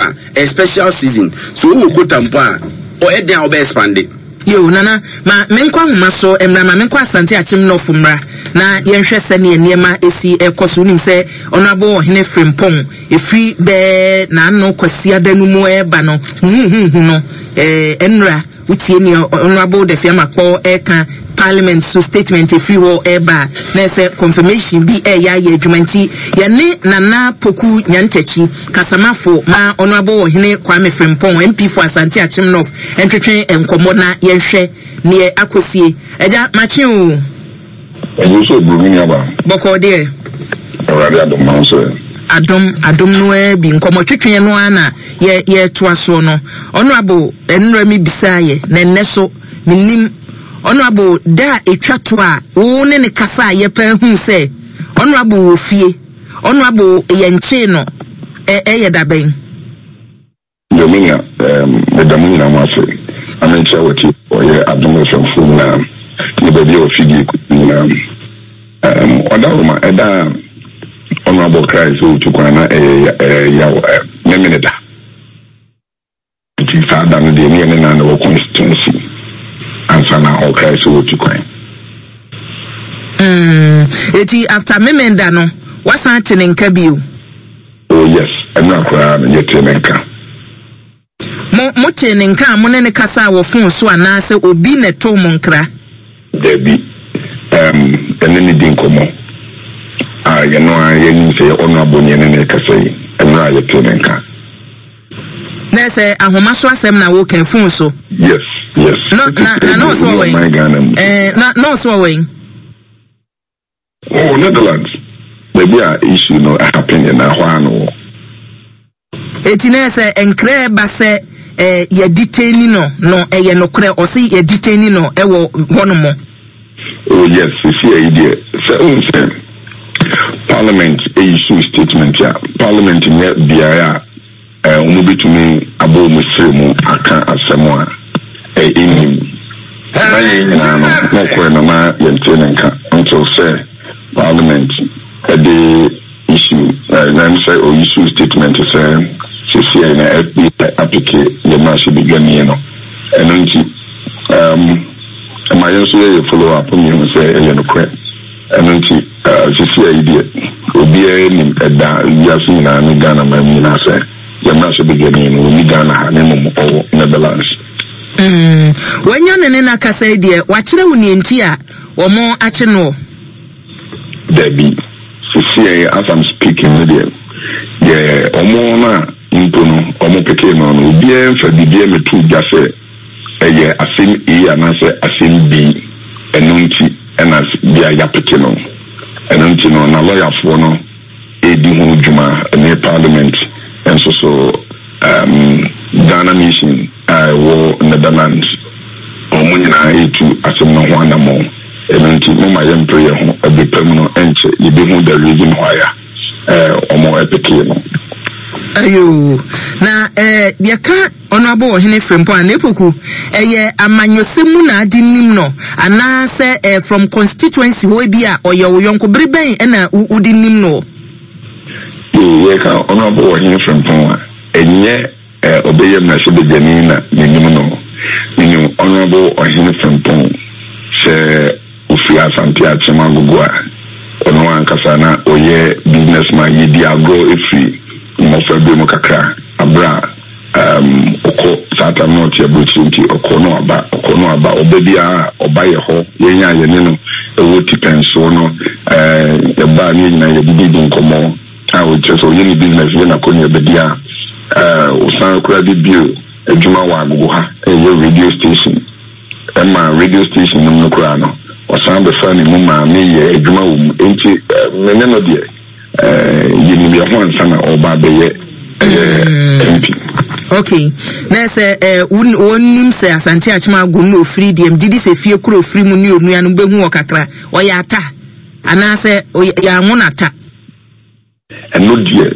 a, ɛyɛ special season. So wowɔ quota mpo a, ɔyɛ den a wobɛ expande. Yoo Nana, ma menkɔ ahoma so mmra, ma menkɔ Asante Akyem North mmra na yɛnhwɛ sɛdeɛ nneɛma ɛsi ɛkɔ so. Wonim sɛ Honourable Ɔhene Frimpong ɛfiri bɛɛ n'ano Kwasiada no mu ɛreba no, huhuhuhu no, ɛɛ nnura. Wotie nea Honourable Dafi-Amakpor reka, Parliament so statement efiri hɔ reba a, na ɛsɛ confirmation bi reyɛ ayɛ adwuma nti yɛne Nana Poku Nyantakyi, kasamafo ma Honourable Ɔhene Kwame Frimpong, MP for Asante Akyem North ntwetwe nkɔmmɔ na yɛnhwɛ neɛ akɔsie. Agya, makye oo. Ɛno nso ɛburu me nuabaa. Bɔkɔɔ deɛ. Awurade adom ma wo nso ɛ. Adom, adom no ara bi. Nkɔmmɔ twetweɛ no ara na yɛ yɛretoa soɔ no. Honourable, nnora me bisaa yɛ, na ɛnnɛ so, mennim. Honourable, da a ɛtwa to a wo ne no kasaa yɛ paa huu sɛ Honourable wɔ fie, Honourable yɛnkyee no, ɛ ɛyɛ da bɛn? Deɛ menya ehm meda mo nyinaa mo ase na menkyea w'atiefoɔ yɛ Adom FM foɔ nyinaa ne baabi a w'afidie kɔ nyinaa ehm Ɔdawoma ɛda a Honourable Christ sɛ ɔtu kwan na ɛyɛ eh yaw eh Memene da nti saa da no deɛ ne yɛne no na ɛwɔ constituency ansa na ɔkrae sɛ ɔtu kwan. Mm, eti after Memenda no wasan ate ne nka bio? Oh yes, ɛnora koraa no yɛtee ne nka. Mo, motee ne nka a mo ne no kasaa wɔ fon so anaasɛ obi na ɛtoo mo nkra? Dabi, ɛɛm, yɛne no di nkɔmmɔ a yɛno ara yɛnim sɛ ɛyɛ Honourable ne yɛne no rekasa yi, ɛnora yɛtee ne nka. Na ɛsɛ ahoma so asɛm na woka, fon so? Yes, yes. No, na, na na ɔsɛ ɔwɔ yi? Ɛɛ, na, na ɔsɛ ɔwɔ yi? Oh, Netherlands, baabi a issue no happen na hɔ ara no wɔ. Eti na sɛ nkra ɛba sɛ eh, yɛ detaini no no ɛyɛ nokorɛ ɔse yɛ detaini no ɛwɔ hɔ nom. Oh yes, sisi ayi deɛ sɛ ohun sɛ parliament issue statement a parliament nyɛ beaeɛ a eh, wɔbɛtumi abɔ wɔn srɛ mu aka asɛm a eh, ɛnnim. Na yɛn nyinaa no, na ɔkɔɛ no na yɛntee ne nka until sɛ parliament de issue, eh, na ɛm sɛ ɔ issue statement sɛ seesei na FBI apeke yɛn mmarahyɛbadwani no. Ɛno nti, um, ɛma yɛn nso yɛyɛ follow up ne yɛhu sɛ ɛyɛ nokorɛ. Ɛno nti, eh, seesei yi deɛ, obiara nim ɛda wiase nyinaa ne Ghana man mu nyinaa sɛ yɛn mmarahyɛbadwani no, ɔnni Ghana ha na mmom ɔwɔ Netherlands. Mm, wanya ne ne no akasa yi deɛ, wakyerɛ wo nea nti a wɔn akye noɔ? Dabi, sesiei as I'm speaking no deɛ, deɛ wɔn no a mpo no wɔn pekee no no, obiara mfa biribiara mmɛtoo dwa sɛ ɛyɛ asɛm A anaasɛ asɛm B, ɛno nti na bia yɛapeke no. Ɛno nti no, na lɔyafoɔ no redi ho dwuma ne parliament nso so um, Ghana mission a ɛwɔ Netherlands, wɔn nyinaa retu asɛm no ho anammɔn. Ɛno nti momma yɛmpere yɛn ho, ɛbere pa mu no ɛnkyɛ yɛbɛhu the reason why a eh, wɔn pekee no. Ayoo, na eh, yɛka Honourable Ɔhene Frimpong a, Nepoku, ɛyɛ amanyɔsɛm mu na ade nim no anaa sɛ eh, from constituency hɔ ebi a ɔyɛ wo yɔnko, bere bɛn na wode nim no? Yoo, yɛka Honourable Ɔhene Frimpong a, ɛnyɛ eh, ɔbɛyɛ mmarahyɛbadwani na menim no. Menim Honourable Ɔhene Frimpong sɛ ɔfiri Asante Akyem Agogo a, ɔno ankasa na ɔyɛ business man, yɛdi agorɔ firi mmɔfra berɛ mu kakra, aberɛ a um, ɔkɔ saa tam na ɔte aburokyire nti ɔkɔ na waba, ɔkɔ na waba, ɔba biara a ɔba yɛ hɔ, yɛn a yɛne no ɛwɔ tipɛnsoɔ no, eh, yɛba a ne yɛn nyinaa yɛdidi di nkɔmmɔ a ɔkyerɛ sɛ ɔyɛ ne business yɛ n'akɔneaba bi a, eh, ɔsan koraa de bio adwuma wɔ Agogo ha, ɛyɛ radio station, ɛma radio station no mu no koraa no, ɔsan bɛfaa me mu maa meyɛ adwuma wɔ mu, enti eh, me ne no deɛ Eh, yɛnim yɛn ho ansa na ɔreba abɛyɛ ɛyɛ MP. Okay. Na sɛ eh, wɔnim sɛ Asante Akyem Ago no ofiri deɛ megye di sɛ fie koro ofiri mu ne onua no bɛhu wɔ kakra. Ɔyɛ ata anaasɛ yɛ anwo no ata? Ɛno deɛ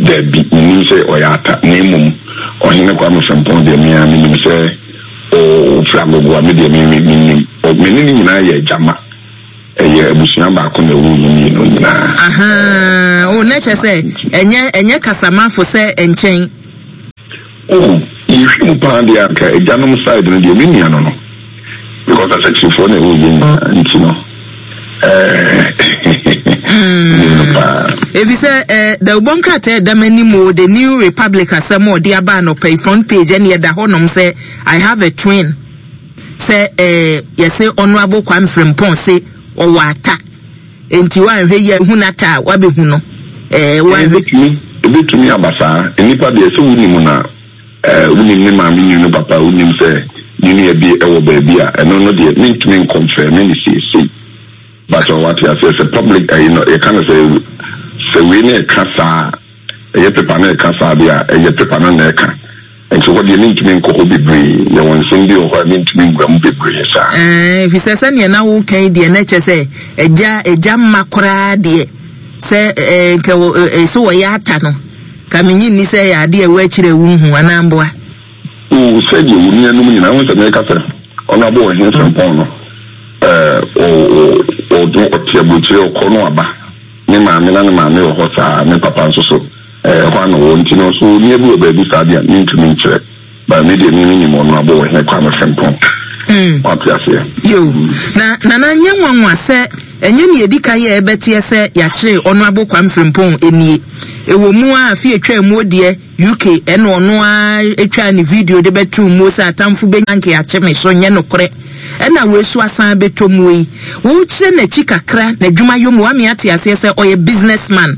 daabi, menim sɛ ɔyɛ ata na mmom Ɔhene Kwame Frimpong deɛ me ara menim sɛ ɔfiri Agogo a me deɛ me menim. Me ne no nyinaa yɛ agyama. Ɛyɛ abusua baako na ɛwoo yɛn mmienu nyinaa. Ahaa, oh, na kyerɛ sɛ ɛnyɛ ɛnyɛ kasamafo sɛ nkyɛn. Oh, yɛhwɛ mu paa deɛ anka agyanom side no deɛ me nua no no because asɛkyerɛfoɔ na ɛwɔ yɛn nyinaa nti no ɛɛ no paa. Efisɛ ɛɛ dawubɔ nkrataa ɛda m'anim o The New Republic asɛm a ɔde aba anɔpa yi front page ɛne ɛda hɔnom sɛ I have a twin sɛ ɛɛ yɛse Honourable Kwame Frimpong se ɔwɔ ata. Enti woanhwɛ yie a hu n'ata a woabɛhu no. Ɛɛ, woanhwɛ. Ebetumi, ebetumi aba saa. Nnipa deɛ, sɛ wonim no a, ɛɛ, wonim ne maame, nim ne papa, wonim sɛ ne nua bi wɔ baabi a, ɛno no deɛ, mentumi nkɔnfɛme no seesei. But wate aseɛ, sɛ public ɛyi no, yɛka no sɛ, sɛ wei no ɛka saa a, ɛyɛ paper no ɛka saa deɛ a, ɛyɛ paper no na ɛka. Nti hɔ deɛ mentumi nkɔ hɔ bebree, yɛwɔ nsɛm bi wɔ hɔ a mentumi nwura mu bebree saa. Ɛɛ, efisɛ sɛdeɛ na woreka yi deɛ na ɛkyerɛ sɛ agya agya mma koraa deɛ sɛ ɛɛ nka wɔ ɛɛ sɛ wɔyɛ ata no ka menye nni sɛ ɛyɛ adeɛ a ɛwɔ akyire a wonhu anaa mboa. Oo, sɛdeɛ wo nuanom nyinaa, wohu sɛ meka sɛ Honourable Ɔhene Frimpong no, ɛɛ, ɔ ɔ ɔno ɔte aburokyire, ɔkɔ no aba, ne maame na ne maame wɔ hɔ saa, ne papa nso so. Ɛɛ hɔ a na ɔwɔ nti no so onua bi wɔ baabi saa deɛ a mentumi nkyerɛ but me deɛ me menim ɔno abɔ wɔ hene Kwame Frimpong wate aseɛ. Yo, na Nana nyɛ nwanwa sɛ ɛnyɛ nea edi kan yɛ ɛbɛteɛ sɛ yɛakyere Honourable Kwame Frimpong nie. Ɛwɔ mu ara afe atwaa muo deɛ UK ɛna ɔno ara twaa ne video de bɛtoo muo sɛ atamfo bɛnya nke akye me so nyɛ nokorɛ ɛna wei so asan abɛtɔ muo yi. Wokyerɛ n'akyi kakra n'adwuma yɔ mu wame ate aseɛ sɛ ɔyɛ business man.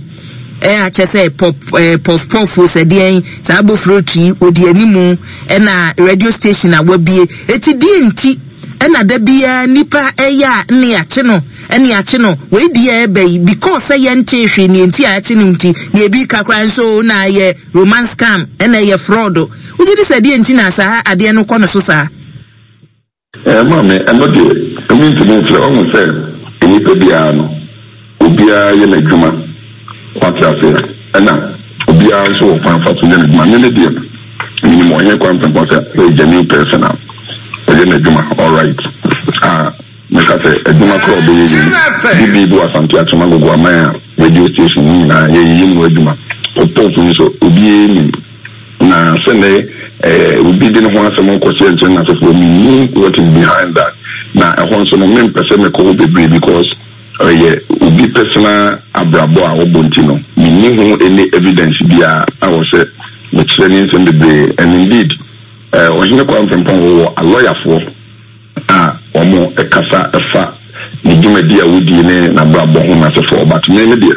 Ɛyɛ a kyɛ sɛ pɔp ɛɛ pɔf pɔf o sɛ deɛn saa bofrot yi odi animu ɛna radio station a wabie eti deɛ nti ɛna da biara nipa ɛyɛ a ne akye no ɛne akye no wei deɛ ɛbɛ yi because sɛ yɛntee hwee neɛ nti a akye no nti neɛ ebi ka koraa nso na ɛyɛ romance scam ɛna ɛyɛ fraud wogye di sɛ deɛ nti na saa adeɛ no kɔ no so saa. Ɛɛ maame, ɛno deɛ mentumi nkyerɛ. Wahu sɛ nnipa biara no, obiara yɛ n'adwuma. Wate aseɛ? Ɛna obiara nso wɔ kwan fa so yɛ n'adwuma. Me me deɛ, menim Ɔhene Kwame Frimpong sɛ ɔyɛ genuine person a ɔyɛ n'adwuma alright. A mɛka sɛ adwuma koraa a ɔbɛyɛ yi, bi bi wɔ Asante Akyem Agogo Aman a radio station ne nyinaa yɛyɛ mu adwuma. Pɔpɔp nso, obiara nim. Na sɛ nɛ eh, obi de ne ho asɛm rekɔhyɛ nkyɛn n'asefoɔ, mennim what is behind that. Na ɛhɔ nso no, mempɛ sɛ mekɔ hɔ bebree because ɛyɛ obi personal abrabɔ a ɔbɔ nti no, menni ho any evidence biara a wɔ sɛ mekyerɛ ne nsɛm bebree. And indeed, eh, Ɔhene Kwame Frimpong wɔ alɔyafoɔ. a wɔkasa fa ne dwumadi a wodie ne n'abrabɔ ho n'asefoɔ but me me deɛ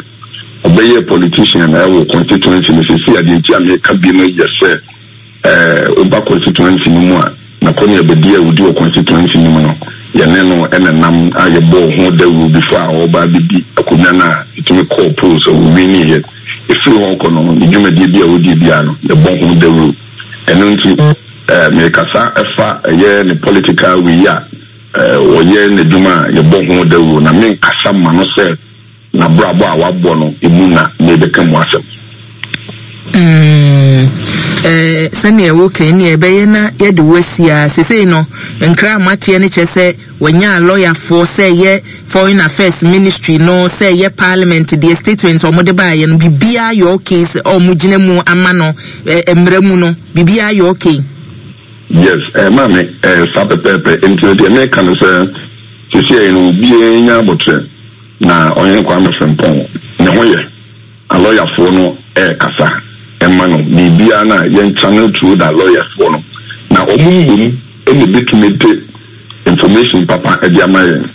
ɔbɛyɛɛ politician ɛwɔ constituency no sɛsi a deɛ nti a meka bi no yɛ sɛ ɛɛ woba constituency no mu a n'akɔne abɛdi a ɔdi wɔ constituency no mu no yɛne no ɛna nam a yɛbɔɔ ho dawuro before a ɔba abɛdi akonnwa no a ɛtumi kɔɔ polls a ɔwiniiɛ ɛfiri hɔ kɔ no ne dwumadie bi a ɔdie biara no yɛbɔ ho dawuro Ɛno nti merekasa fa ɛyɛ ne political wei a ɔyɛ n'adwuma a yɛbɔ ho dawuro na menkasa mma no sɛ n'abrabɔ a wabɔ no emu na merebɛka mu asɛm. Mm, eh, sɛnea woka yi nea ɛbɛyɛ na yɛde wo asi ara. Sesei no, nkra a moateɛ no kyerɛ sɛ Wɔnyaa lɔyafoɔ sɛ ɛyɛ foreign affairs ministry no sɛ ɛyɛ parliament deɛ statement a wɔde baeɛ no biribiara yɛ okay sɛ wɔn gyina mu ama no mmara mu no biribiara yɛ okay. Yes, eh, maame, eh, saa pɛpɛɛpɛ. Nti no deɛ meka no sɛ sisiɛ no obiara nya abotrɛ na Ɔhene Kwame Frimpong ne ho yɛ. Alɔyafoɔ no ɛɛkasa ɛma no biribiara no a yɛn channel through the alɔyafoɔ no na wɔn mmom na ɛbɛtumi de information papa de ama yɛn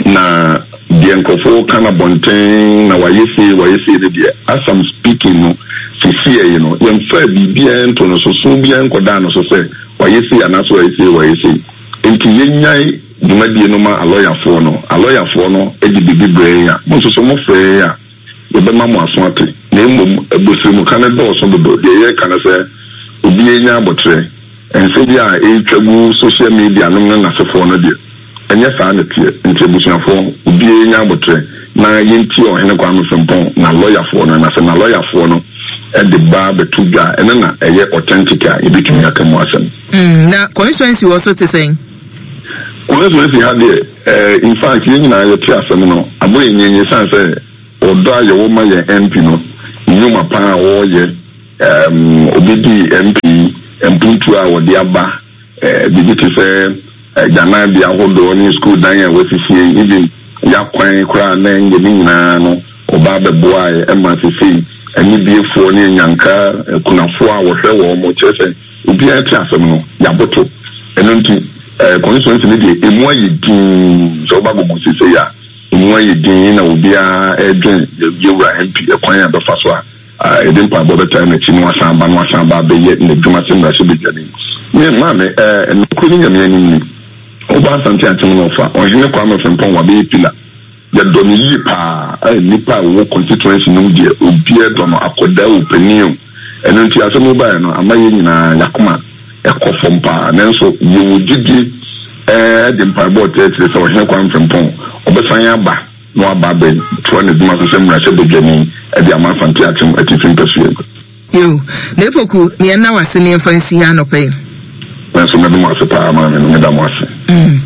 na deɛ nkurɔfoɔ ka no abɔnten na wayɛ sei wayɛ sei no deɛ as I'm speaking no sesiɛ yi no yɛmfaa biribiara nto no so so biara nkɔdaa no so sɛ wayɛ sei anaasɛ wayɛ sei wayɛ sei nti yɛnyae dwumadie no ma alɔyafoɔ no alɔyafoɔ no de biribi brɛ yɛn a mo nso so mofrɛ yɛn a Yɛbɛma mo aso ate, na mmom abosiremka no dɔɔso dodo. Deɛ yɛreka ne sɛ, obiara nya aboterɛ. Nsɛm bi a ɛretwa gu social media nom ne n'asefoɔ no deɛ, ɛnyɛ saa na ɛteɛ. Nti abusuafoɔ, obiara nya aboterɛ na yɛntie Ɔhene Kwame Frimpong n'alɔyafoɔ no, na sɛ n'alɔyafoɔ no de ba bɛto dwa a, ɛno na ɛyɛ authentic a yɛbɛtumi aka mu asɛm. Na constituency wɔ so te sɛn? Constituency ha deɛ, eh, in fact yɛn nyinaa yɛte asɛm no, abɔ yɛn nyenye sane sɛ ɔdɔ a yɛwɔ ma yɛn MP no, nnwuma pa a ɔreyɛ, um, obedii MP yi, mpuntuo a wɔde aba, biribi te sɛ agyananbea ahodoɔ ne sukuu dan a wɔasisie, even y'akwan koraa na ɛnyɛ ne nyinaa no, wɔba abɛboaeɛ ma sesei anibiefoɔ ne anyanka akunafoɔ a wɔhwɛ wɔn, kyerɛ sɛ obiara te asɛm no, y'aboto. Ɛno nti, constituency no deɛ, ɛmu ayɛ dinn. Sɛ woba Gogo sesei a, ɛmu ayɛ dinn na obiara redwen yɛn wura MP ɛkwan a ɛbɛfa so a yɛde mpaebɔ bɛtaa n'akyi na wasan aba na wasan aba abɛyɛ n'adwuma sɛ mmarahyɛbadwani. Me maame, ɛɛ, nokorɛ ne Nyame anim ni, woba Asante Akyem na ɔfa Ɔhene Kwame Frimpong wabɛyɛ pillar. Yɛdɔ no yie paa, ɛɛ, nnipa a wɔwɔ constituency no mu deɛ obiara dɔ no, akwadaa o, panin o. Ɛno nti asɛm yi baeɛ no, ama yɛn nyinaa y'akoma kɔ fam paa. Nanso yɛwɔ gyidie, ɛɛ, de mpaebɔ retaa akyire sɛ Ɔhene Kwame Frimpong ɔbɛsan aba. na waba abɛtoa n'adwuma so sɛ mmarahyɛbadwani de ama Asante Akyem Atifi Mpasua mu. Yo, N'Epoku, ne yɛnna wo ase ne yɛmfa nsi ha anɔpa yi. Me nso meda mo ase paa maame no, meda mo ase. Mm.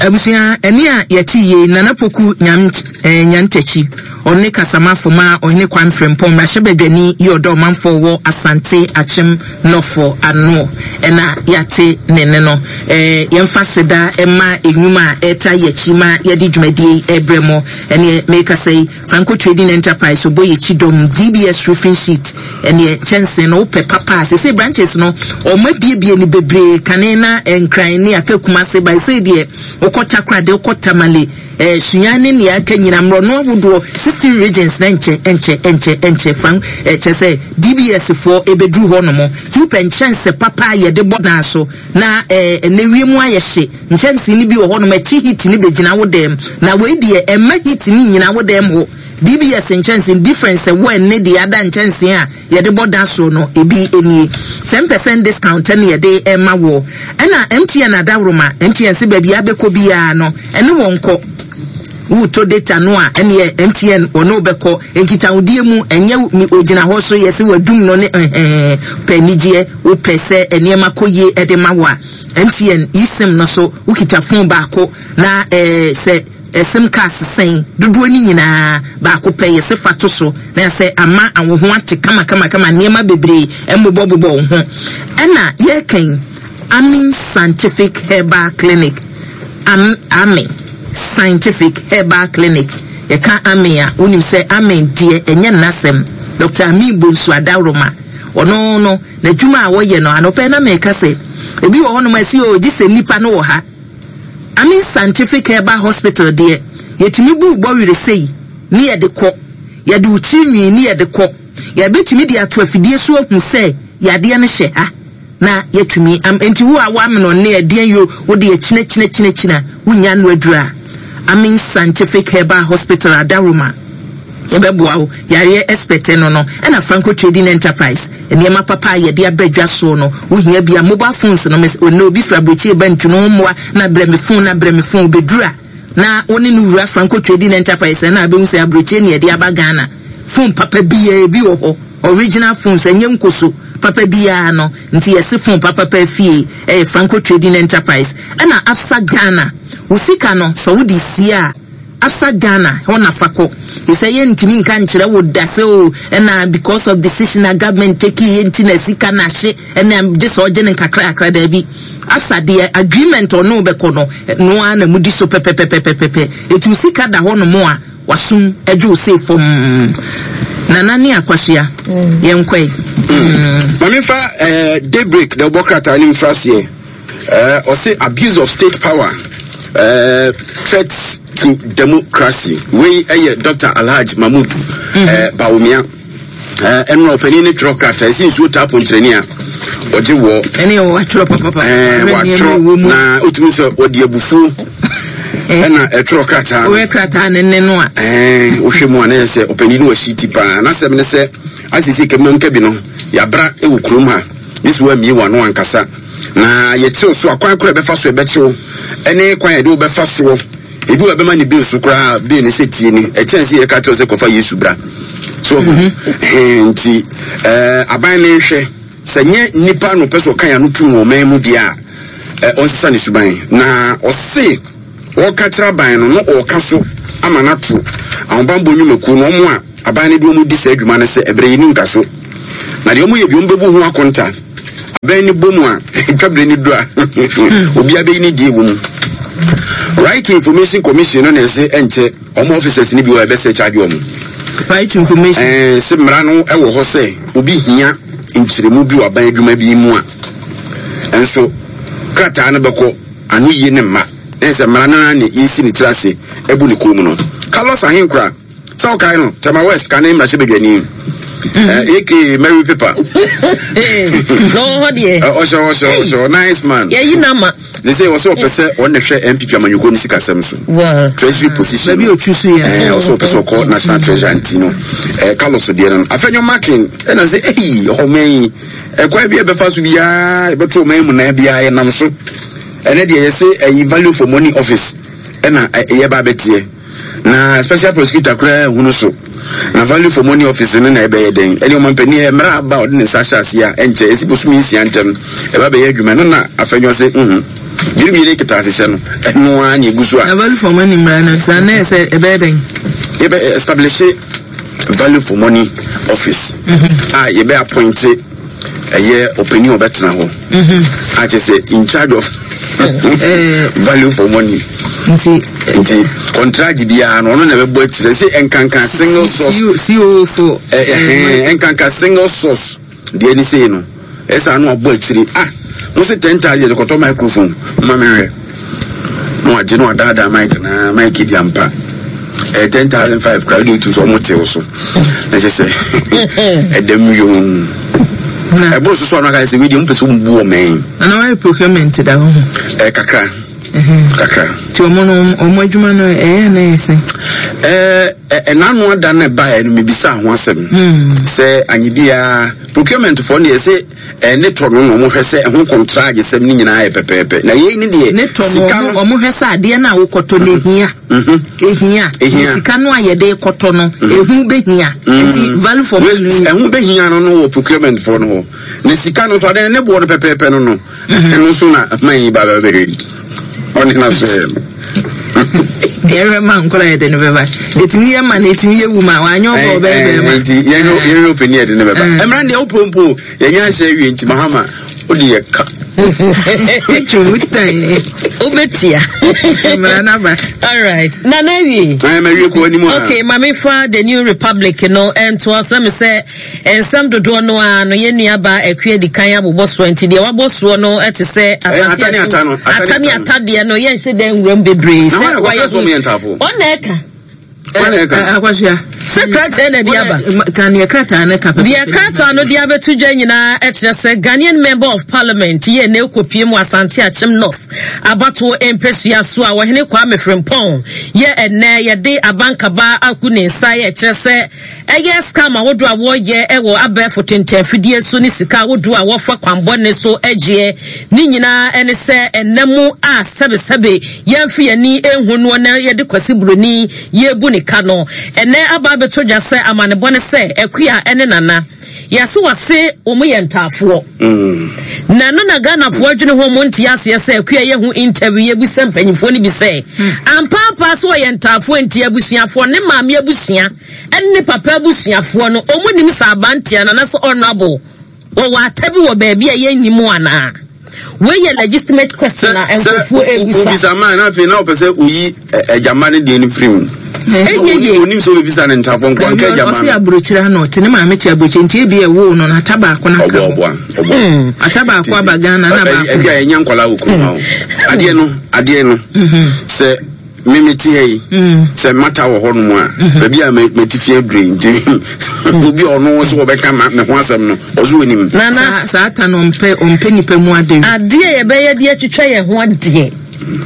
Abusua, ɛne a yɛte yie, Nana Poku Nyam, eh, Nyantakyi, ɔno ne kasamafo ma Ɔhene Kwame Frimpong, mmarahyɛbadwani yi ɔdɔ ɔmanfoɔ wɔ Asante Akyem Nɔfo ano na yɛate ne nne no. Yɛmfa aseda mma nnwuma a ɛretaa yɛn akyi ma yɛde dwumadie yi rebrɛ mo. Ɛneɛ merekasa yi, Franco Trading Enterprise, ɔbɔ yɛn akyi dɔm, DBS Roofing Sheet, ɛneɛ kyɛnsee no wopɛ papa a, seesei branches no wɔn abiebie no bebree, kane na Nkran ne aka Kumase, but seesei deɛ wokɔ Takoradi, wokɔ Tamale, Eh, Sunya ne nea aka nyina, mmorɔno ahodoɔ, 16 regions na nkyɛ, nkyɛ, nkyɛ, nkyɛ, fan, eh, kyerɛ sɛ DBS foɔ ɛbɛduru hɔ nom. Nti wopɛ nkyɛnse papa a yɛde bɔ dan so, na eh, ɛnɛ wiem ayɛ hye, nkyɛnse no bi wɔ hɔ nom, ɛkye heat no bɛgyina wo dɛm, na wei deɛ ɛmma heat no nnyina wo dɛm hɔ. DBS nkyɛnse, difference ɛwɔ ɛnne deɛ ada nkyɛnse a yɛde bɔ da so no ebi nie. Ten percent discount ɛna yɛde ɛma woɔ. Ɛna MTN adaworoma, MTN se baabi a bɛkɔ biara no ɛne wɔn kɔ. Wotɔ data no a ɛneɛ MTN wɔne wo bɛkɔ. Nkitahodie mu ɛnyɛ mi ogyina hɔ so yɛse wadum no ne ɛhɛɛ. Pɛ anigyeɛ, wopɛ sɛ nneɛma kɔ yie ɛde ma wo a, MTN eSIM no so wokita phone baako na ɛɛ sɛ Sim cars sɛn dodoɔ no nyinaa baako pɛ yɛse fa to so na sɛ ama wo ho ate kamakamakama nneɛma bebree mmobɔbobɔ wo ho ɛna yɛreka yi Amin Scientific Herbal Clinic Am Amin Scientific Herbal Clinic yɛka Amin a wonim sɛ Amin deɛ ɛnyɛ nnasɛm Dr. Amin Bonsu Adaworoma ɔno no n'adwuma a wɔyɛ no anɔpɛ na meka sɛ ebi wɔ hɔnom a ɛsi o gye sɛ nnipa no wɔ ha Amin Scientific Herbal Hospital deɛ, yɛtumi bu wo bɔwerɛ sei ne yɛde kɔ, yɛde wo tiri nwi ne yɛde kɔ, yɛbɛtumi de ato afidie so ahu sɛ yadeɛ no hyɛ ha na yɛatumi am, enti wo a woamene ɔne ɛdeɛn yo, wo deɛ kyina kyina kyina kyina, wonnya ano aduru a, Amin Scientific Herbal Hospital Adaworoma yɛbɛboa wo, yareɛ expert no no, ɛna Franco Trading Enterprise. Nneɛma papa a yɛde aba dwa soɔ no, wohia bi a, mobile phones no, mes, ɔnnɛ obi firi aburokyire ba ntu no ho mmoa na brɛ me phone na brɛ me phone, ɔbɛduru a, na wo ne no wura Franco Trading Enterprise na abɛhu sɛ aburokyire ne yɛde aba Ghana. Phone papa biara bi wɔ hɔ, original phones, ɛnyɛ nkoso, papa biara no, nti yɛse phone papa paa fie ɛyɛ Franco Trading Enterprise. Ɛna Absa Ghana, wo sika no, sɛ wode sie a, Afa Ghana hɔ na fa kɔ. Efisɛ yɛntumi nka nkyerɛ wo da sɛ oh ɛna because of decision a government take yɛ nti na sika no ahye ɛna gye sɛ ɔgye no nkakrakra daabi. Asa deɛ agreement ɔne wo bɛkɔ no ɛno ara na mudi so pɛpɛpɛpɛpɛpɛ. Eti wo sika da hɔ nom a wasum adwo wo sei fɔmm. Nana ne Akwasoa yɛnkɔe. Ma memfa eh, daybreak na wobɔ krataa no mfiri aseɛ. Eh, ɔse abuse of state power eh, threat to democracy. Wei ɛyɛ Dr. Alhaj Mahmood mm -hmm. eh, Bawumia. Eh, ɛnora ɔpanin ne twerɛ krataa ɛsi nsuo taa ponkyerɛni a ɔgye wɔ. Ɛne watwerɛ papapa. Eh, watwerɛ na otumi sɛ ɔde abufuo ɛna ɛtwerɛ krataa. Ɔyɛ krataa ne nne no a. Ɛɛ wohwɛ mu a na yɛ sɛ ɔpanin no wɔ ti paa n'asɛm ne sɛ asiesie kɛmɛ nkabi no yabra ɛwɔ kurom ha ne sɛ wɔamie wɔn ano ankasa. Na yɛkyew so a, kwan koro a ɛbɛfa so ɛbɛkyew ne kwan a yɛde wo bɛfa soɔ. Ebi wɔ ɛbɛma ne bill so koraa, bill ne sɛ tie ni. Ɛkyɛn sɛ yɛka kyerɛ sɛ kɔfa Yesu bra. So ɔho. Mm-hmm. Nti, ɛɛ aban ne nhwɛ sɛ nyɛ nipa na ɔpɛ sɛ ɔka yɛn ano tum wɔ ɔman mu deɛ a, ɔnsesa ne suban. Na ɔse Wɔreka kyerɛ aban no na wɔreka so ama no ato ahobammɔ nnwumakuo no, wɔn a aban no de wɔn di saa adwuma no sɛ ɛberɛ yi ni nka so. Na deɛ wɔyɛ bi wɔbɛbu ho akonta. Bɛn ne bɔ mu a, twa bere no du a, obiara bɛyi ne deɛ wɔ mu. Right to Information Commission no na ɛsɛ ɛnkyɛ wɔn officers no bi wɔ ɛbɛsɛ charge wɔn. Right to Information. Ɛɛ sɛ mmara no ɛwɔ hɔ sɛ obi hia nkyerɛmu bi wɔ aban adwuma bi mu a, nso krataa no bɛkɔ ano yie ne mma. Ɛsɛ mmara no ara na yɛsi ne tiri ase ɛbu ne kɔn mu no. Carlos Ahenkura. Sɛ wokae no, Tema West kane mmarahyɛbadwani, aka Mary Paper. Na ɔwɔ hɔ deɛ. Ɔhyɛ ɔhyɛ ɔhyɛ nice man. Yɛyi n'ama. Ne sɛ ɔsɛ ɔpɛ sɛ ɔno na hwɛ NPP amanyɔkuo no sikasɛm so. Treasury position. Baabi otwi so yɛ. Ɛɛ ɔsɛ ɔpɛ sɛ ɔkɔ national treasury nti no. Ɛɛ Carlos deɛ no. Afɛnyɔ Makin ɛna sɛ ɛyi ɔman yi ɛkwan bi a ɛbɛfa so biara ɛbɛto ɔman mu nan biara yɛnam so. Ɛnɛ deɛ yɛsɛ ɛyi value for money office ɛna ɛyɛ ba abɛteɛ. Na special prosecutor koraa nhunu so. Na value for money office no na ɛbɛyɛ dɛn? Ɛne ɔmampanin ɛ, mmara aba a ɔde ne nsa ahyɛ aseɛ a ɛnkyɛ, ɛsi bosome nsia ntam ɛba bɛyɛ adwuma. Ɛno na Afenyo se, Nhu. Biribie ne ketasehyɛ no, ɛno ara na ɛgu so a. Na value for money mmara no, saa na ɛsɛ ɛbɛyɛ dɛn? Yɛbɛ establish value for money office a yɛbɛ appoint ɛyɛ ɔpanin a ɔbɛtena hɔ a kyerɛ sɛ in charge of value for money nti nti kɔntragye biara no ɔno na ɛbɛbɔ akyerɛ sɛ nkanka single source CO for nkanka single source deɛ ne sei no ɛsɛ ano abɔ akyire ah mo se 10,000 yɛde kɔtɔ microphone ma mehwɛ na wagye na wadaadaa mic na mic di ampa ɛyɛ 10,005 kora wode wotu sɛ ɔmo tew so na kyɛ sɛ ɛdam yom ɛboro so so ano aka sɛ wei deɛ mopɛ sɛ ɔmbu ɔmɛn ana wayɛ procurement da ho ɛ kakra kakra nti ɔmo no ɔmo adwuma no ɛyɛ na ɛyɛ sɛn ɛɛ ɛnano ada no ɛbaeɛ no mebisa ho asɛm sɛ anye biara procurement foɔ no deɛ sɛ Ne tɔ no na wɔhwɛ sɛ ɛho kɔntragye-sɛm no nyinaa yɛ pɛpɛɛpɛ. Na yei ne deɛ Ne tɔ no, sika no. wɔhwɛ sɛ adeɛ no a wokɔtɔ no ehia. Ehia. Ehia. Sika no a yɛde rekɔtɔ no, ehu behia. Nti value for money no. Ɛho behia no no wɔ procurement foɔ no hɔ. Na sika no nso, adeɛ no ne boɔ no pɛpɛɛpɛ no no, ɛno nso na man yi ba bɛbɛhwɛ. Ɔne na sɛ no. Yɛhwɛ ma nkora yɛde no bɛba. Ɛtumi yɛ ma na ɛtumi yɛ wu ma wanyɛ ɔbɔ ɔbɛyɛ bɛrima. Nti yɛhwɛ ɔpɛni yɛde no bɛba. Mmara deɛ wopɛ mpo yɛnyɛ ahyɛ awie nti Mahama wode yɛ ka. Twemu tan. Wobɛtua. Mmara no aba. All right. Nana awie. Ayɛ ma wie kɔ anim a. Okay, ma mefa the new republic no ntoa so na me sɛ Nsɛm dodoɔ no ara no, yɛn nuabaa Akua di kan abobɔ soɔ, nti deɛ wabɔ soɔ no te sɛ Asante ata ne ata no, ata ne ata deɛ no, yɛnhyɛ da nwura mu bebree. Na wɔn na ɛkɔka sɛ wɔn yɛ ntaafo. Wɔn na ɛka. Wɔn na ɛka. Akwasia. Sɛ krataa na ɛde aba. Ka deɛ krataa no ka pɛpɛpɛ. Deɛ krataa no de abɛto dwa nyinaa kyerɛ sɛ Ghanaian Member of Parliament yɛ na ɛkɔpie mu Asante Akyem North abatoɔ mpɛsua so a Ɔhene Kwame Frimpong yɛ ɛnnɛ yɛde abankaba agu ne nsa yɛ kyerɛ sɛ Ɛyɛ scam ahodoɔ a wɔyɛ wɔ abɛɛfo tentɛnfidie so ne sika ahodoɔ a wɔfa kwanbɔne so gyeɛ. Ne nyinaa ne sɛ ɛnna mu a sɛbesɛbe yɛmfe yɛn ani nhu noɔ na yɛde Kwasi Buroni yɛrebu ne ka no. Ɛnnɛ aba abɛtɔ dwa sɛ amanebɔ ne sɛ Akua ne Nana Yɛase wɔse wɔn yɛ ntaafoɔ. Na ɛno na Ghanafoɔ adwene ho wɔn nte aseɛ sɛ Akua yɛ ho interview yɛbisa mpanyinfoɔ no bi sɛ ampaapa sɛ wɔyɛ ntaafoɔ nti abusuafoɔ ne maame abusua ɛne ne papa abusuafoɔ no wɔn nim sɛ abanteɛ no anaasɛ honourable wɔwɔ ata bi wɔ baabi a yɛnni mu anaa? Wei yɛ legitimate question a nkurɔfoɔ ebisa. Obisa maa na afei na ɔpɛ sɛ oyi agyama no deɛ no firi mu. Ɛnyɛ yie. Onim sɛ obebisa ne ntafo nko nka agyama no. Ɔsi aburokyire ano ɔte ne maame te aburokyire nti ebi ɛwoo no na ata baako na ka ho. Ɔboa ɔboa. Hmm. Ata baako aba Ghana na baako. Ɛbi a ɛnya nkwadaa wɔ kurom ha o. Adeɛ no adeɛ no sɛ. Me me te ha yi sɛ mata wɔ hɔnom a mhm. baabi a matifi adure nti obi a ɔno sɛ wɔbɛka ma me ho asɛm no ɔso onim. Nana saa ta no ɔmpɛ ɔmpɛ nipa mu ade. Adeɛ yɛbɛyɛ de atwitwa yɛn ho adeɛ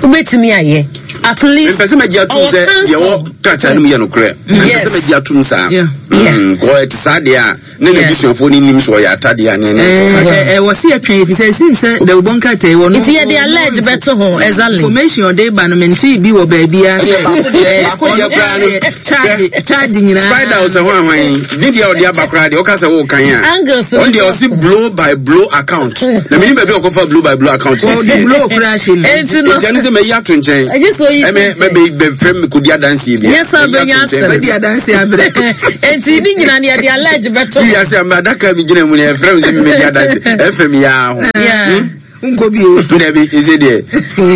wobɛtumi ayɛ at least. Mpɛ sɛ magye atum sɛ deɛ wɔ krataa no mu yɛ nokorɛ. Mpɛ sɛ magye atum saa. Kɔ ɛte saa deɛ a ne n'abusuafoɔ no nim sɛ ɔyɛ atadeɛ a ne ɛne ntɔ. Ɛwɔ se yɛtwɛn ɛfiri sɛ ɛsim sɛ dawubɔ nkrataa yi wɔ no. Nti yɛde allege bɛto ho exactly. Information ɔde ba no mente bi wɔ baabi a sɛ charge charge nyinaa. Spider ɔsɛ ho ahwan ne deɛ ɔde aba koraa deɛ ɔka sɛ wo kan a. Angles ɔn deɛ ɔse blow by blow account na menim baabi a ɔkɔfa blow by blow account. Ɔde blow koraa hyɛ mu. Enti no. Enti ɛno sɛ mayi ato nkyɛn. Ɛgye sɛ oyi to nkyɛn. Ɛmɛ bɛfrɛ me kɔdi adanseɛ bi. Nyɛ sɛ ɔbɛnya asɛm. Bɛdi adanseɛ abrɛ. Enti ne nyina no yɛde allege bɛto. Wiase a adaka mi gyina mu no yɛfrɛ me sɛ memmɛdi adanse ɛfɛ mi yaa ho. Nkɔ bio. Dabi ɛsɛ deɛ.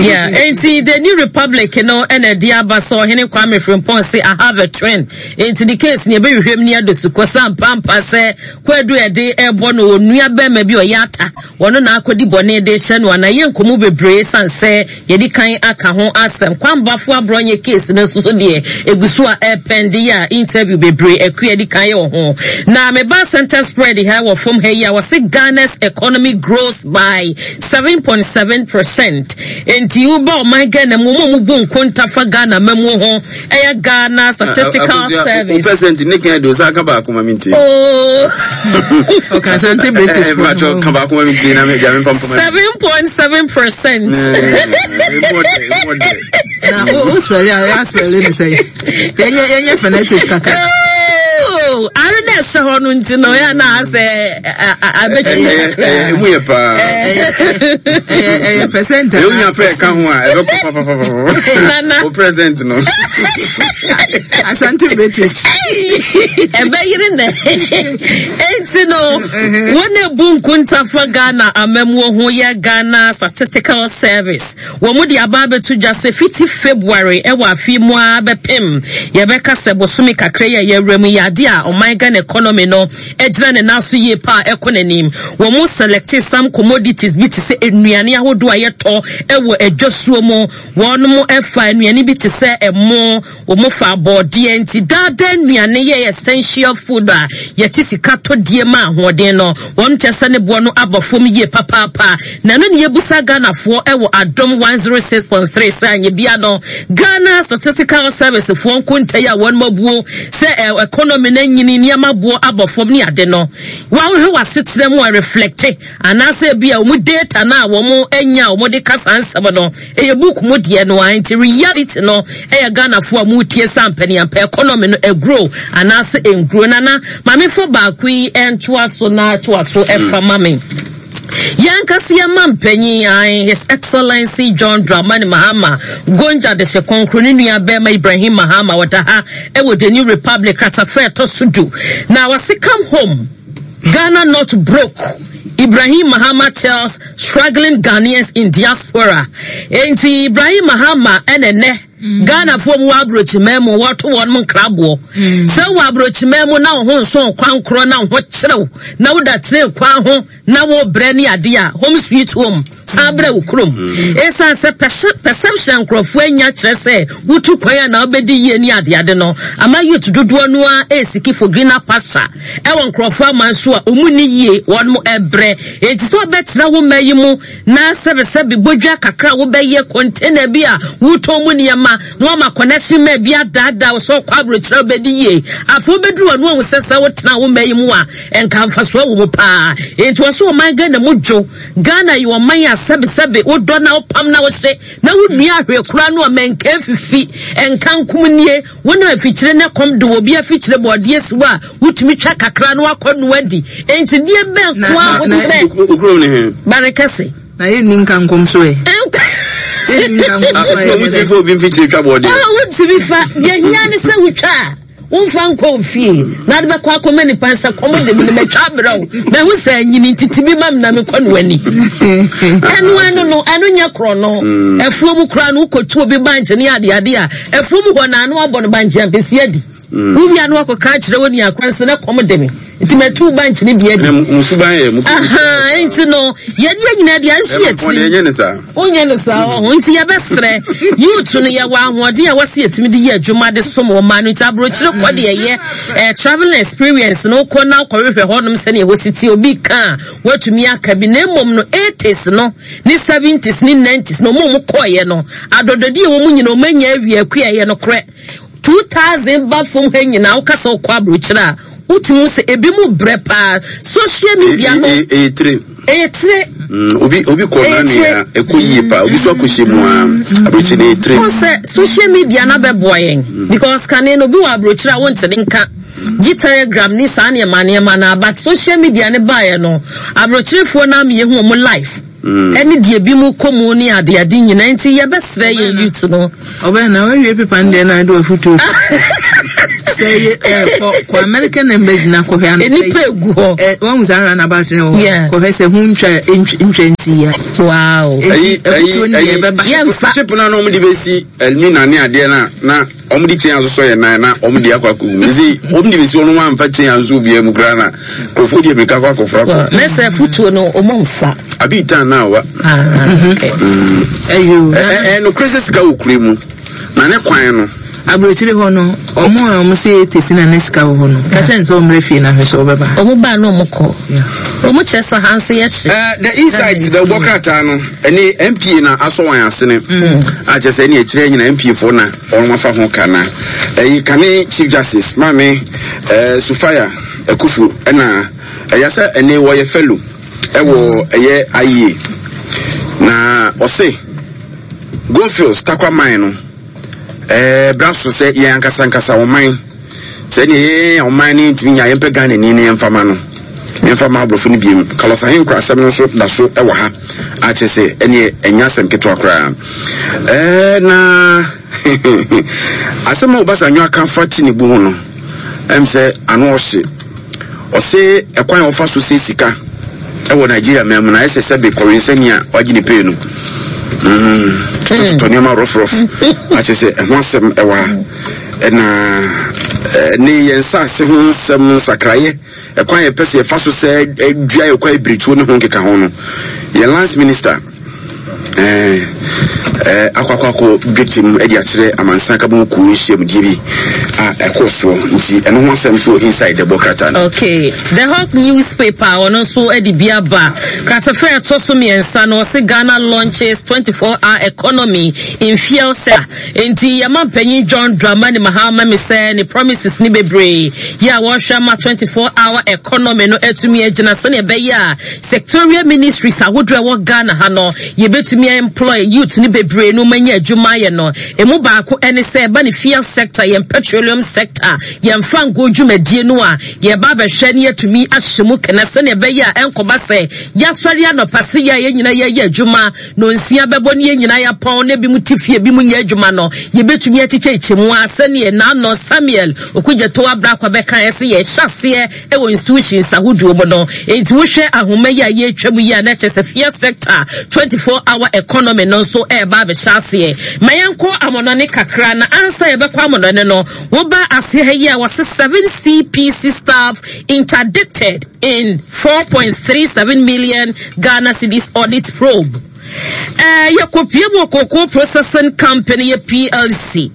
Yeah, enti the New Republic no ɛna ɛde aba sɛ ɔhene Kwame Frimpong se I have a twin. Enti the case ne ɛbɛhwehwɛm ne ado sukɔ sɛ ampampa sɛ kwadu ɛde ɛbɔ no onua bɛrima bi ɔyɛ ata wɔno na akɔdi bɔne de hyɛ no ana yɛ nkɔmu bebree san sɛ Yɛadi kan aka ho asɛm. Kwambafo Aborɔnyɛ case no nso so deɛ ɛgu so a ɛrepɛnde yi a interview bebree Akua adi kan yɛ wɔ ho. Na meba center spread ha wɔ fam ha yi a wɔse Ghana's economy grows by 7.7%. Enti woba ɔman Ghana mu, wɔn a wɔbu nkonta fa Ghana mamuo ho ɛyɛ Ghana Statistical Service. Percent ne kan de osa ka baako ma mi nti. Oh. Ɔka Asante British. Mpatsɔ ka baako ma mi nti na mi gya mi nfa mpoma. 7.7%. Na o o spell a ya spell ne sɛ yɛnyɛ yɛnyɛ phonetics kakra. Oh, are na ɛhyɛ hɔ no nti no yɛ na asɛ abɛtwi kakra. Emu yɛ paa. Ɛyɛ percent. Ewu nya pɛ ka ho a ɛbɛkɔ papapapa. Nana. O present no. Asante British. Ɛbɛyere nɛ. Enti no, wɔn ebu nkontafa Ghana amamuo ho yɛ Ghana Statistical Service. Wɔn de aba abɛto dwa sɛ fiti February ɛwɔ afe mu ara bɛpem yɛbɛka sɛ bosome kakra yi a yɛawura mu yi ade a ɔman Ghana economy no agyina ne nan so yie paa ɛkɔ n'anim. Wɔn select some commodities bi te sɛ nnuane ahodoɔ a yɛtɔ ɛwɔ adwasuo mu. Wɔn fa nnuane bi te sɛ ɛmo, wɔn fa abɔɔdeɛ nti daadaa nnuane yɛ essential food a yɛte sika tɔ die ma ahoɔden no. Wɔn kyɛ sɛ ne boɔ no abɔ fam yie papaapa. Na ɛno ne yɛbusa Ghanafoɔ ɛwɔ Adom 106.3 sɛ anyɛ bia no Ghana Statistical Service foɔ nkonta yi a wɔn abuo sɛ economy no anyini nneɛma boɔ abɔ fam ne ade no wɔahwehwɛ w'asetena mu a reflecte Anaasɛ ebia wɔn data no a wɔn anya a wɔde ka saa nsɛm no, ɛyɛ book mu deɛ no ara nti reality no ɛyɛ Ghanafoɔ a moretie sɛ ampaniampa economy no ɛgrow anaasɛ ɛngrow. Nana, ma memfa baako yi ntoa so na toa so ɛfa ma me. Yɛn ankasa yɛn mampanyin, ae, His Excellency John Dramani Mahama, Gonja Dehye Kronkron ne nua bɛrima Ibrahim Mahama, wɔda ha ɛwɔ The New Republic kratafa ɛtɔ so du. Na wɔse come home. Ghana not broke, Ibrahim Mahama tells struggling Ghanaians in diaspora. Enti Ibrahim Mahama ɛna ɛnɛ Ghanafoɔ mu wɔ aburokyiman mu wɔto wɔn mu nkraboɔ. Sɛ wɔ aburokyiman mu na wo ho nso kwan korɔ na wo ho kyerɛw na woda tene kwan ho na wo brɛ ne adeɛ a home sweet home san brɛ wo kurom. Ɛsiane sɛ perception nkurɔfoɔ anya kyerɛ sɛ wotu kwan a na wobɛdi yie ne adeade no ama youth dodoɔ no ara ɛresiki for greener pasture ɛwɔ nkurɔfoɔ aman so a wɔn nni yie wɔn ɛbrɛ enti sɛ wɔbɛtena wo mma yi mu na sɛbesɛbe bodwa kakra a wobɛyɛ container bi a wotɔn mu nneɛma na wɔama connection ma bi adaadaa wo sɛ ɔkɔ aburokyerɛ wobɛdi yie afei wobɛduru wɔn ahu sɛ sɛ wotena wo mma yi mu a nka mfasoɔ wɔ mu paa enti wɔ so ɔman Ghana mu dwo Ghana yɛ ɔman a sɛbesɛbe wodɔ na wopam na wohye na wonua ahwɛ koraa no a mɛnka fifi nka nkom nie Wonam afikyire na kɔm de wɔ obi afikyire bɔɔdeɛ si hɔ a, wotumi twa kakra na wakɔ noa di. Enti deɛ bɛn ko ara wode bɛ. Okurom ne he? Bare kɛse. Na yɛnni nka nkom so ɛ. Yɛnni nka nkom so ɛ. Wotumi fa obi mfikyire twa bɔɔdeɛ. Ah, wotumi fa. Deɛ hia ne sɛ wotwa a, womfa nkɔ ofie na ade bɛkɔ akɔma nipa nsa kɔm de me no matwa abrɛ wo. Mahu sɛ anyini ntiti bi ma me na mekɔ no ani. Ɛno ɛno no, ɛno nyɛ korɔ no. Afuo mu koraa no wokɔtu obi bankye ne adeade a, Afuom hɔ na ano abɔ no bankye ampesi adi. Wowia no akɔka akyerɛ wo nua kwan sɛ na kɔm de me nti matu bankye no bi adi. Aha, nti no yɛde yɛ nyinaa deɛ anhye yɛ tirim. Wonyɛ no saa ɔho nti yɛbɛsrɛ youth no yɛwɔ ahoɔden a wɔsi yɛtumi de yɛ adwuma de som wɔn ma no nti aburokyire kɔ deɛ yɛ eh, traveling experience no kɔ na kɔhwehwɛ hɔnom sɛnea ɛhɔ si ti obi ka a watumi aka bi na mmom no 80s no ne 70s ne 90s na wɔn a wɔkɔeɛ no adɔdɔdeɛ wɔ mu nyina wɔn anya awie akua ɛyɛ nokorɛ 2000 ba fam ha nyinaa woka sɛ wokɔ aburokyerɛ a wotumi hu sɛ ebi mu brɛ paa social media no ɛyɛ tire ɛyɛ tire mm, obi obi kɔ na nea ɛkɔ yie paa obi so akɔhyɛ mu a aburokyerɛ no ɛyɛ tire wɔn sɛ social media no abɛboa yɛn because kane no obi wɔ aburokyerɛ a wontene nka. Gye telegram ne saa nneɛma nneɛma no but social media ne baeɛ no, aborɔkyerefoɔ no ama yɛhu wɔn life. Ɛne deɛ bi mu kɔ mu ne ade ade nyinaa nti yɛbɛsrɛ yɛn youth no. Ɔbɛn na wawie pepa no deɛ na ade wafutuo sɛ yɛ ɛ kɔ kɔ American embassy na kɔhwɛ ano. Nipa egu hɔ. Ɛ wɔn saa round about ne hɔ. Kɔhwɛ sɛ ho ntwa ntwa nsi ya. Wow. Eti afutuo no deɛ ɛbɛba. Yɛnfa. Ship na na wɔn de bɛsi Elmina ne adeɛ na na wɔn de kyɛn asosɔ yɛn nan na wɔn de akɔ akɔ mu. Nti wɔn de bɛsi wɔn wɔn amfa kyɛn anso obiara mu koraa na nkurɔfoɔ de mirika akɔ akɔfra kɔ. Ne sɛ afutuo no wɔn mfa. Abi tan na awa. Ɛyo. Ɛ ɛ nokorɛ sɛ sika wɔ kure mu na ne kwan no. Aburokyire hɔ no, wɔn a wɔn sɛ yɛ tesi na ne sika wɔ hɔ no, ka kyerɛ no sɛ ɔmmrɛ fie na hwɛ sɛ ɔbɛba. Wɔn ba na wɔn kɔ. Wɔn kyerɛ sɛ ha nso yɛ hye. The Insight na ɛbɔ krataa no ɛne MPA na asɔ wɔn asene. A kyerɛ sɛ ɛne akyire nyina MPA foɔ na wɔn afa ho ka na ɛyi kane Chief Justice Maame ɛɛ Sufaya Akufu ɛna ɛyɛ sɛ ɛne wɔyɛ fellow ɛwɔ ɛyɛ IEA na ɔse Goldfields Tarkwa mine no. Ɛɛ bra so sɛ yɛn ankasa ankasa ɔman sɛ neɛ yɛn ɔman no ntumi nya yɛmpɛ Ghana ni no yɛmfa ma no yɛmfa ma aborɔfo no biem. Carlos Ahenkura asɛm no nso da so wɔ ha akyerɛ sɛ ɛneɛ ɛnyɛ asɛm ketewa koraa. Ɛɛ na asɛm a Obasanjo aka fa Tinubu ho no ɛm sɛ ano ɔhye. Ɔse ɛkwan a wɔfa so sɛ sika ɛwɔ Nigeria man mu no ayɛ sɛ sɛbe kɔwensani a wagye ne pay no. Totɔtotɔ nneɛma rɔfrɔf akyɛ sɛ ɛho asɛm ɛwɔ ha. Ɛna ne yɛn nsaase ho nsɛm nsakraeɛ ɛkwan yɛpɛ sɛ yɛfa so sɛ dua yɛ kwan ebirituo ne ho nkeka ho no. Yɛn lands minister ɛɛ akɔ akɔ akɔ dwetɛ mu de akyerɛ amansan kabom kuo nhyiamudie bi a ɛkɔɔ soɔ nti ɛno ho asɛm nso wɔ inside ɛbɔ krataa no. Okay, The Hawk newspaper ɔno nso de bi aba. Kratafa a ɛtɔ so mmiɛnsa no ɔse Ghana launches 24 hour economy in fuel sector. Enti yɛma mpanyin John Dramani Mahama mi sɛ ne promises ne bebree yɛ a wɔrehwɛ ama 24 hour economy no atumi agyina sɛnea ɛbɛyɛ a Sectorial ministries ahodoɔ a ɛwɔ Ghana ha no, yɛbɛtumi a employ youth no bebree no manya adwuma ayɛ no. Ɛmu baako ɛne sɛ ɛba ne fuel sector, yɛn petroleum sector, yɛn fango dwumadie no a yɛba abɛhwɛ ne yɛatumi ahyɛ mu kena sɛnea ɛbɛyɛ a ɛnkɔba sɛ yɛasɔre anɔpa se yɛ a yɛn nyinaa yɛyɛ adwuma nonsia bɛbɔ ne yɛn nyinaa yɛapɔn na ebinom te fie ebinom nyɛ adwuma no, yɛbɛtumi akyekyɛkyɛ mu a sɛdeɛ Naano Samuel Okudzeto Ablakwa bɛkaeɛ sɛ yɛhyɛ aseɛ wɔ institutions ahodoɔ mu no. Enti wohwɛ ahoma yi a yɛretwa mu yi a na kyerɛ sɛ fia sector 24 hour economy no nso ɛreba abɛhyɛ aseɛ. Ma yɛnkɔ amɔnɔne kakra na ansa yɛbɛkɔ amɔnɔne no, woba aseɛ ha yi a wɔse 7 CPC staff interdicted in 4.37 million Ghana cedis audit probe. Eh, yɛkɔpie mu wɔ cocoa processing company yɛ PLC.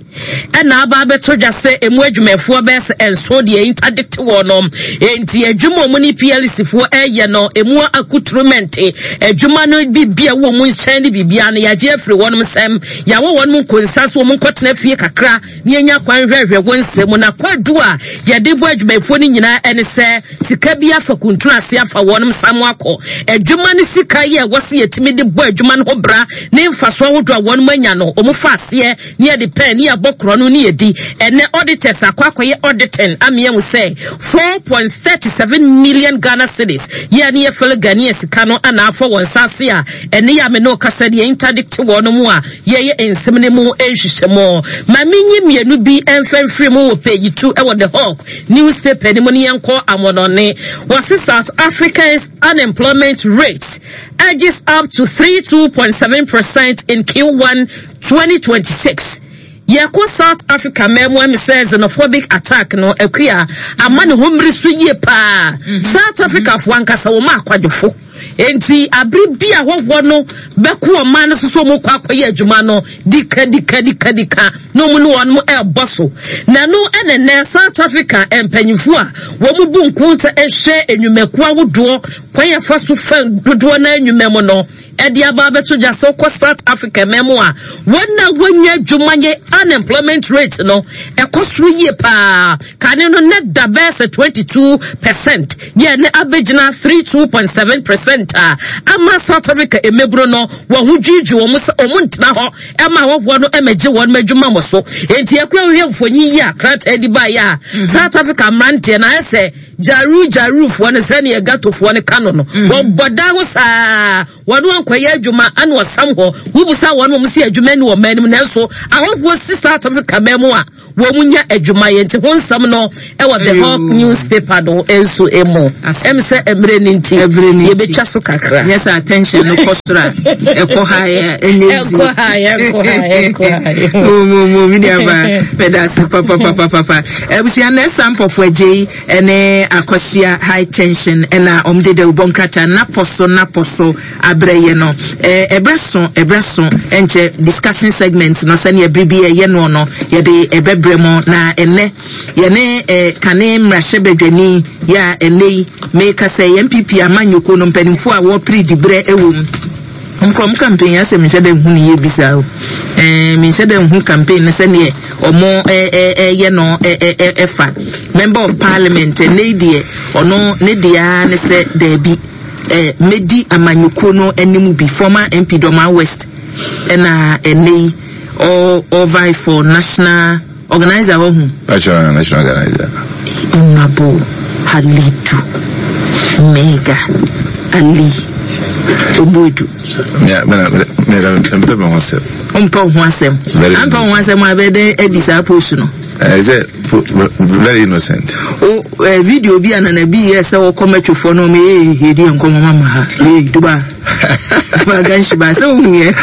Ɛna aba abɛto dwa sɛ emu adwumayɛfoɔ bɛyɛ sɛ nson deɛ interdicte wɔn no. Enti adwuma wɔn ne PLC foɔ ɛyɛ no emu akuturumɛnte adwuma no biribi a ɛwɔ wɔn nkyɛn ne biribiara no yɛagye afiri wɔn nsam. Yɛawɔ wɔn nkonsa so wɔn nkɔtena fie kakra na yɛnya kwan hwɛhwɛ wɔn nsɛm mu. Na kwadu a yɛde bɔ adwumayɛfoɔ no nyinaa ɛne sɛ sika bi afa kuntunu ase afa wɔn nsa mu akɔ. Adwuma no sika yi a ɛwɔ sɛ yɛtumi de bɔ adwuma no ho bra ne mfasoɔ ahodoɔ a wɔn anya no wɔn fa aseɛ ne yɛde pɛn ne yɛabɔ korɔ no ne yɛdi. Ɛnnɛ auditors akɔ akɔyɛ auditing ama yɛahu sɛ 4.37 million Ghana cedis yɛ a ne yɛ fellow Ghanaian sika no ana afɔ wɔn nsa ase a ɛne yɛ a me ne wo kasa deɛ interdict wɔn mu a yɛyɛ nsɛm no mu nhwehwɛmu. Ma menyi mmienu bi mfa mfiri mu wɔ page 2 ɛwɔ The Hawk newspaper no mu ne yɛnkɔ amɔnɔne. Wɔse South Africa's unemployment rate edges up to 32.7 percent in Q1 2026, Yɛkɔ South Africa man mu a, sɛ xenophobic attack no akua ama ne ho mmiri so yie paa. South Africa foɔ ankasa wɔn akwadwofo. Enti abere bi a hɔhoɔ no bɛko ɔman no so sɛ wɔn kɔ akɔyɛ adwuma no, dika dika dika dika na wɔn ne wɔn ɛrebɔ so. Na ɛno ɛna nnɛ South Africa mpanyinfoɔ a wɔn bu nkonta hwɛ nnwumakuo ahodoɔ kwan yɛfa so fa dodoɔ no nnwuma mu no. de aba abɛto dwa sɛ wokɔ South Africa man mu a, wɔn a wɔnya adwuma yɛ unemployment rate no ɛkɔ soro yie paa. Kane no na da bɛyɛ sɛ 22% yɛ ne abɛgyina 32.7 percent a ama South Africa mmabunu no wɔn ho dwiridwiri wɔn sɛ wɔn ntena hɔ ɛma ahɔhoɔ no ɛmɛgye wɔn adwuma mo so. Enti ɛkura wohwɛ mfonyin yi a krataa di baeɛ a mhm. South Africa mmeranteɛ na ayɛ sɛ Jaru Jarufoɔ no sɛdeɛ Gatofoɔ no ka no no, mhm. wɔbɔ dan ho saa wɔn ankɔyɛ adwuma ana ɔsam hɔ. Wobusa wɔn wɔn si adwuma ni wɔ man no mu nanso ahɔhoɔ si South Africa man mu a wɔn nya adwuma yɛ nti ho nsɛm no ɛwɔ The Hawk newspaper no nso emu. Ɛm sɛ mmerɛ no nti yɛbɛtwa so kakra. Nyɛ sɛ attention no kɔ soro a ɛkɔ ha yɛ ɛnyɛ zi. Ɛkɔ ha yɛ ɛkɔ ha ɛkɔ ha yɛ. Mo mo mo mi ni aba mɛda ase papapapapa. Abusua na ɛsa mpɔfo agye yi. ne akwasia high tension na wɔn de dawubɔ nkrataa napɔ so napɔ so abrɛ yɛ no ɛbrɛ so ɛbrɛ so ɛnkyɛ discussion segment no sɛnea ɛbere bi ɛyɛ noɔ no yɛde ɛbɛbrɛ mu na ɛnɛ yɛne kane mmarahyɛbadwani yɛ a ɛnɛ yi meka sɛ yɛn npp amanyɔkuo no mpanimfoɔ a wɔpere diberɛ ɛwɔ mu Nkorɔm campaign asɛ menhyɛ da nhu ne yie bi saa o. Ɛɛ menhyɛ da nhu campaign no sɛdeɛ ɔmo ɛyɛ no ɛfa. Member of parliament ɛnɛ yi deɛ ɔno ne deɛ ara ne sɛ daabi ɛɛ mɛdi amanyɔkuo no anim bi former MP Dormaa West ɛna ɛnɛ yi ɔ ɔ for national Organizer wahu. Pacho national organizer. Honorable Halidu Mega Ali Obuedu. Me me me me mpɛ me ho asɛm. Mpɛ wo ho asɛm. Ampɛ wo ho asɛm a bɛyɛ dɛn adi saa post no. Ɛsɛ very innocent. O eh, video bi a nana bi yɛ sɛ wɔkɔ mɛtwofoɔ no ɔmo ee yɛdi yɛn nkɔmɔ mama ha ee duba ba ganhyi ba sɛ wohu yɛ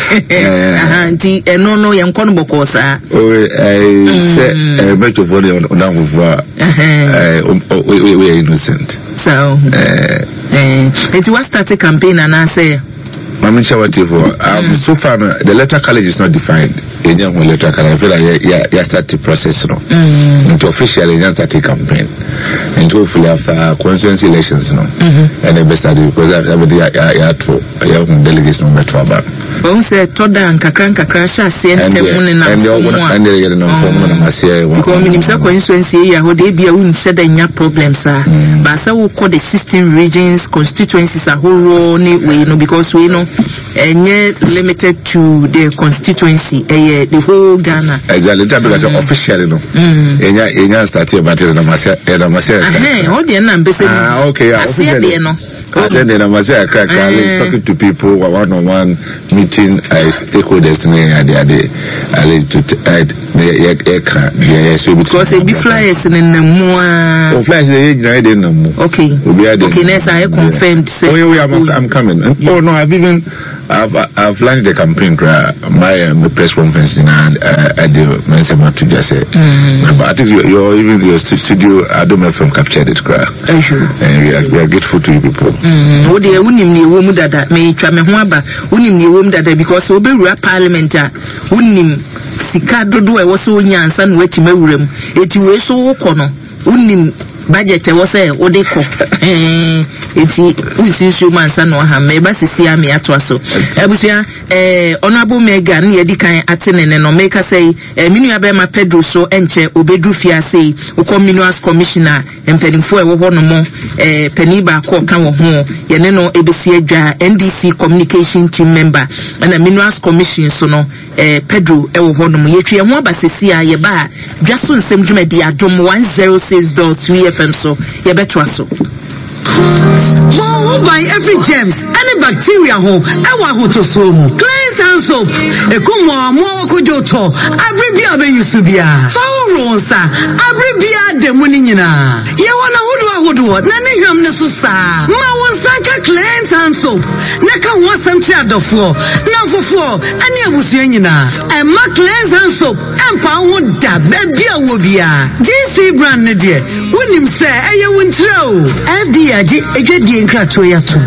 nti ɛno no yɛn nkɔ no bɔkɔɔ saa. Sɛ mɛtwofoɔ no yɛ ɔdanfofoɔ a woyɛ innocent. Saa ohu. Nti wa start campaign anaasɛ. Mami nkyɛn wa tie fo. So far no, the electoral college is not defined. Yɛnyɛ ho electoral college. I feel like yɛ yɛ yɛ start the process no. Nti officially yɛn start the campaign. Nti hopefully after constituency elections no, ɛna ɛbɛ start because ɛbɛ de yɛ yɛ ato yɛ ho delegates no bɛ to aba. Wɔn sɛ tɔ da nkakra nkakra hyɛ aseɛ ntɛm ne nam fam a. Ɛnde yɛ de nam fam no nam aseɛ. Because minim sɛ constituency area hɔ de ebi a wonhyɛ da nya problems a. Baasa wokɔ the 16 regions constituencies ahoroɔ ne wei no because wei no ɛnyɛ limited to the constituency ɛyɛ the whole Ghana. Exactly nti abeka sɛ officially no yɛnya yɛnya start yɛ but yɛnam aseɛ yɛnam aseɛ. Ahɛn ɔdeɛ nna mpɛ sɛ ah okay yeah aseɛ deɛ no. Aseɛ deɛ nam aseɛ kakra kakra at least talking to people one on one meeting uh, stakeholders ne ade ade at least to uh, yɛ yɛ ka deɛ yɛ so ebi. Because ebi flyers ne nam mu aa. O flyers yɛ gyina yɛ de nam mu. Okay. Obi ade. Okay, next I confirmed. Say, oh yeah, I'm, I'm coming. Oh no, I've even I've I've launched the campaign. Kra, my my press conference in I do my say my to just say. But I think your your even your studio Adom FM captured it, kra. And we are we are grateful to you people. Wo deɛ wonim nea ɛwɔ mu dada metwa me ho aba wonim nea ɛwɔ mu dada because wobɛwura parliament a wonim sika dodoɔ a ɛwɔ sɛ wonya ansa na woatumi awura mu eti wei so wokɔ no wonim budget ɛwɔ sɛ wode kɔ ɛɛ eti wonsi nsuo mu ansa na waha mɛba sisi a meatoa so abusua ɛɛ honourable mega ne yɛdi kan ate ne ne no meka sɛ yi ɛɛ me nua bɛrima pedro so ɛnkyɛ obeduru fiase yi wokɔ minerals commissioner mpanimfoɔ a ɛwɔ hɔ nom ɛɛ panin baako ɔka wɔ ho yɛne no ebesi adwa ndc communication team member ɛna minerals commission so no. Eh, Pedro wɔ hɔ nom. Yɛtwi yɛn ho aba sɛsi a yɛba a, dwa so nsɛm dwumadi Adom 106.3 FM so yɛbɛtoa so. Bɔ wo ho ban firi germs ne bacteria ho wɔ ahotosoɔ mu. Cleanse hand soap ɛkum mmoawammoawa kodwo tɔ abere biara a wobɛyi so biara. Fa hohoro wo nsa abere biara da mu no nyinaa. Yɛwɔ no ahodoɔ ahodoɔ na ne hwam no so saa. Ma wo nsa nka Cleanse hand soap na ka ho asɛm kyerɛ adɔfoɔ, nnamfofoɔ, ne abusua nyinaa. Ɛmma Cleanse Hand Soap ɛmpa wo ho da baabi a wowɔ biara. GC brand no deɛ, wonim sɛ ɛyɛ wo ntira o. FDA agye adwadie nkratoɔ yi atom.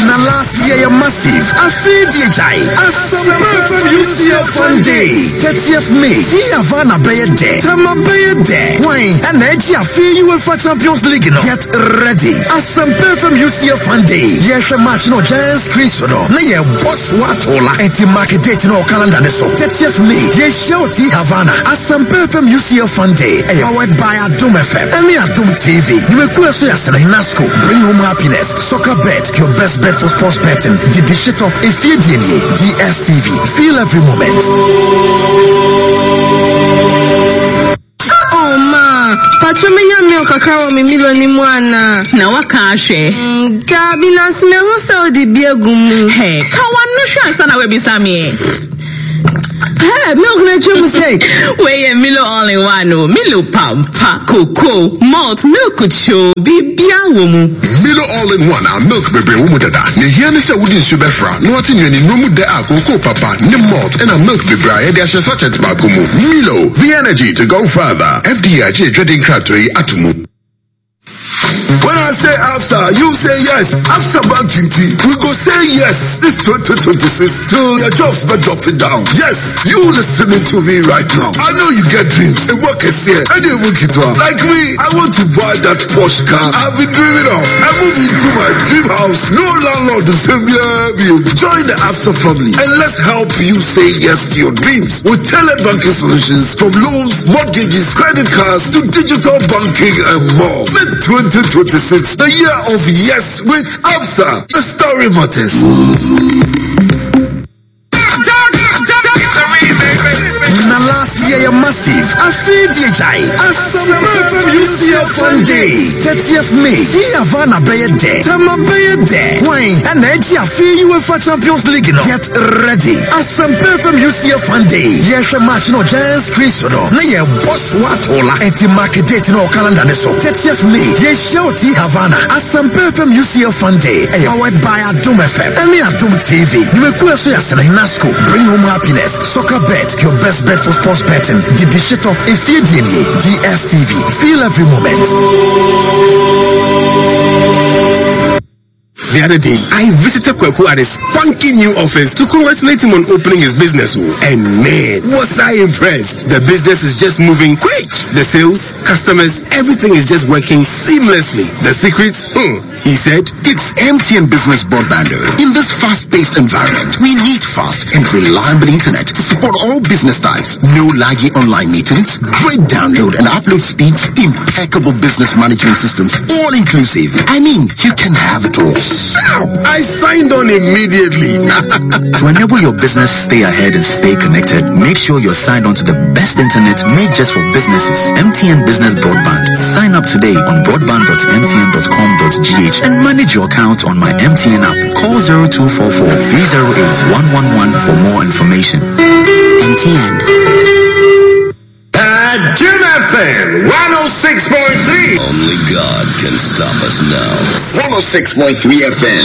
Na last year. year yɛ massive. Afei deɛ gyae. Asempa FM UCL Fun Day, 30th May. Ti Havana bɛyɛ dɛ. Tama bɛyɛ dɛ. Hwan ɛna ɛgye afei UEFA Champions League no? Get ready. Asempa FM UCL Fun Day. Yɛhwɛ match no giant screen so no na yɛbɔ so atola. Enti mark date no wɔ calendar ne so. 30th May. Yɛhyia wɔ Ti Havana. Asempa FM UCL Fun Day. Ɛyɛ powered by Adom FM ɛne Adom TV. Nnwumakuo ɛso yɛ asene Nasco, Bring Home Happiness, Soccer Bet, your best bet for sports betting, Didi Shitɔ, Efie DNA, DSTV. Feel every moment. Oh ma, patro menya milk kakra wɔ me Milo ni mu ana? Na waka ahwɛ. Mm, dabi na so mehu sɛ wode bi agu mu. Hey, ka wano hwɛ ansa na wabisa me. Hey, milk na atwa mu sɛ. Wei yɛ Milo all in one o. Milo pampa, cocoa, malt, milk kyo, bibia wɔ mu. Milo all in one a milk bebree wɔ mu dada. Nea ehia ne sɛ wode nsu bɛfra na woate nnuanennuro mu dɛ a cocoa papa ne malt ɛna milk bebree a yɛde ahyɛ sachet baako mu. Milo, the energy to go further. FDA agye adwadi nkratoɔ yi ato mu. When I say AFSA, you say yes. AFSA Bank T, we go say yes. This 2026 till your jobs but drop it down. Yes, you listening to me right now. I know you get dreams. A work is here. And you work it Like me, I want to buy that Porsche car I've been dreaming of. I move into my dream house. No landlord is in Join the AFSA family and let's help you say yes to your dreams with tailored banking solutions from loans, mortgages, credit cards to digital banking and more. Make 2026 the year of yes with ABSA. The story matters. Na last year yɛ massive. Afei deɛ gyae. Asempa FM UCL Fun Day, 30th May. Ti Havana bɛyɛ dɛ. Tama bɛyɛ dɛ. Hwan ɛna ɛgye afei UEFA Champions League no? Get ready. Asempa FM UCL Fun Day. Yɛhwɛ match no giant screen so no na yɛbɔ so atola. Enti mark date no wɔ calendar ne so. 30th May. Yɛhyia wɔ Ti Havana. Asempa FM UCL Fun Day. Ɛyɛ powered by Adom FM ɛne Adom TV. Nnwumakuo ɛso yɛ asene Nasco, Bring Home Happiness, Soccer Bet, your best bet for sports betting, Didi Shitɔ, Efie DNA, DSTV. Feel every moment. The other day, I visited Kweku at his funky new office to congratulate him on opening his business. Oh. And man, was I impressed. The business is just moving quick. The sales, customers, everything is just working seamlessly. The secret? Hmm, he said, It's MTN Business Broadband. In this fast-paced environment, we need fast and reliable internet to support all business types. No laggy online meetings, great download and upload speeds, impeccable business management systems, all inclusive. I mean, you can have it all. Sharp! I signed on immediately. to enable your business stay ahead and stay connected, make sure you're signed on to the best internet made just for businesses. MTN Business Broadband. Sign up today on broadband.mtn.com.gh and manage your account on my MTN app. Call 0244 308 111 for more information. MTN. Jim FM 106.3. Only God can stop us now. 106.3 FM.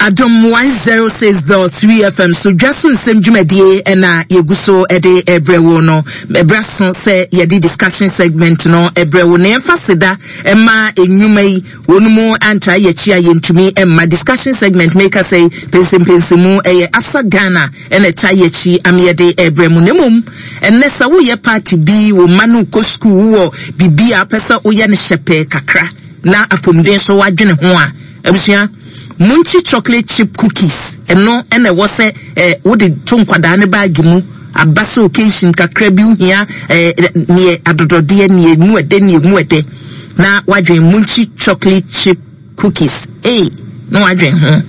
Adom 106.3 FM so dwa so nsɛm dwumadie ɛna yɛgu so ɛde ɛbrɛ wo no. Ɛbrɛ so sɛ yɛde discussion segment no ɛbrɛ wo na yɛmfa seda ɛma nnwuma yi wɔn mu antra yɛkyi a yɛntumi ɛmma discussion segment meka sɛ pɛnsɛmpɛnsɛmu ɛyɛ AFSA Ghana ɛna ɛta yɛkyi am yɛde ɛbrɛ mu. Na mmom ɛnnɛ sɛ woyɛ party bi wo mma no kɔ sukuu wowɔ biribi a wopɛ sɛ woyɛ no hyɛpɛɛ kakra na apɔmuden so wadwene ho a, abusua Munchie chocolate chip cookies ɛno ɛna ɛwɔ sɛ ɛ wode to nkwadaa ne baagi mu aba sɛ occasion kakra bi wohia ɛ neɛ adodɔdeɛ neɛ emu ɛdɛ neɛ emu ɛdɛ na wadwen Munchie chocolate chip cookies ee na wadwen ho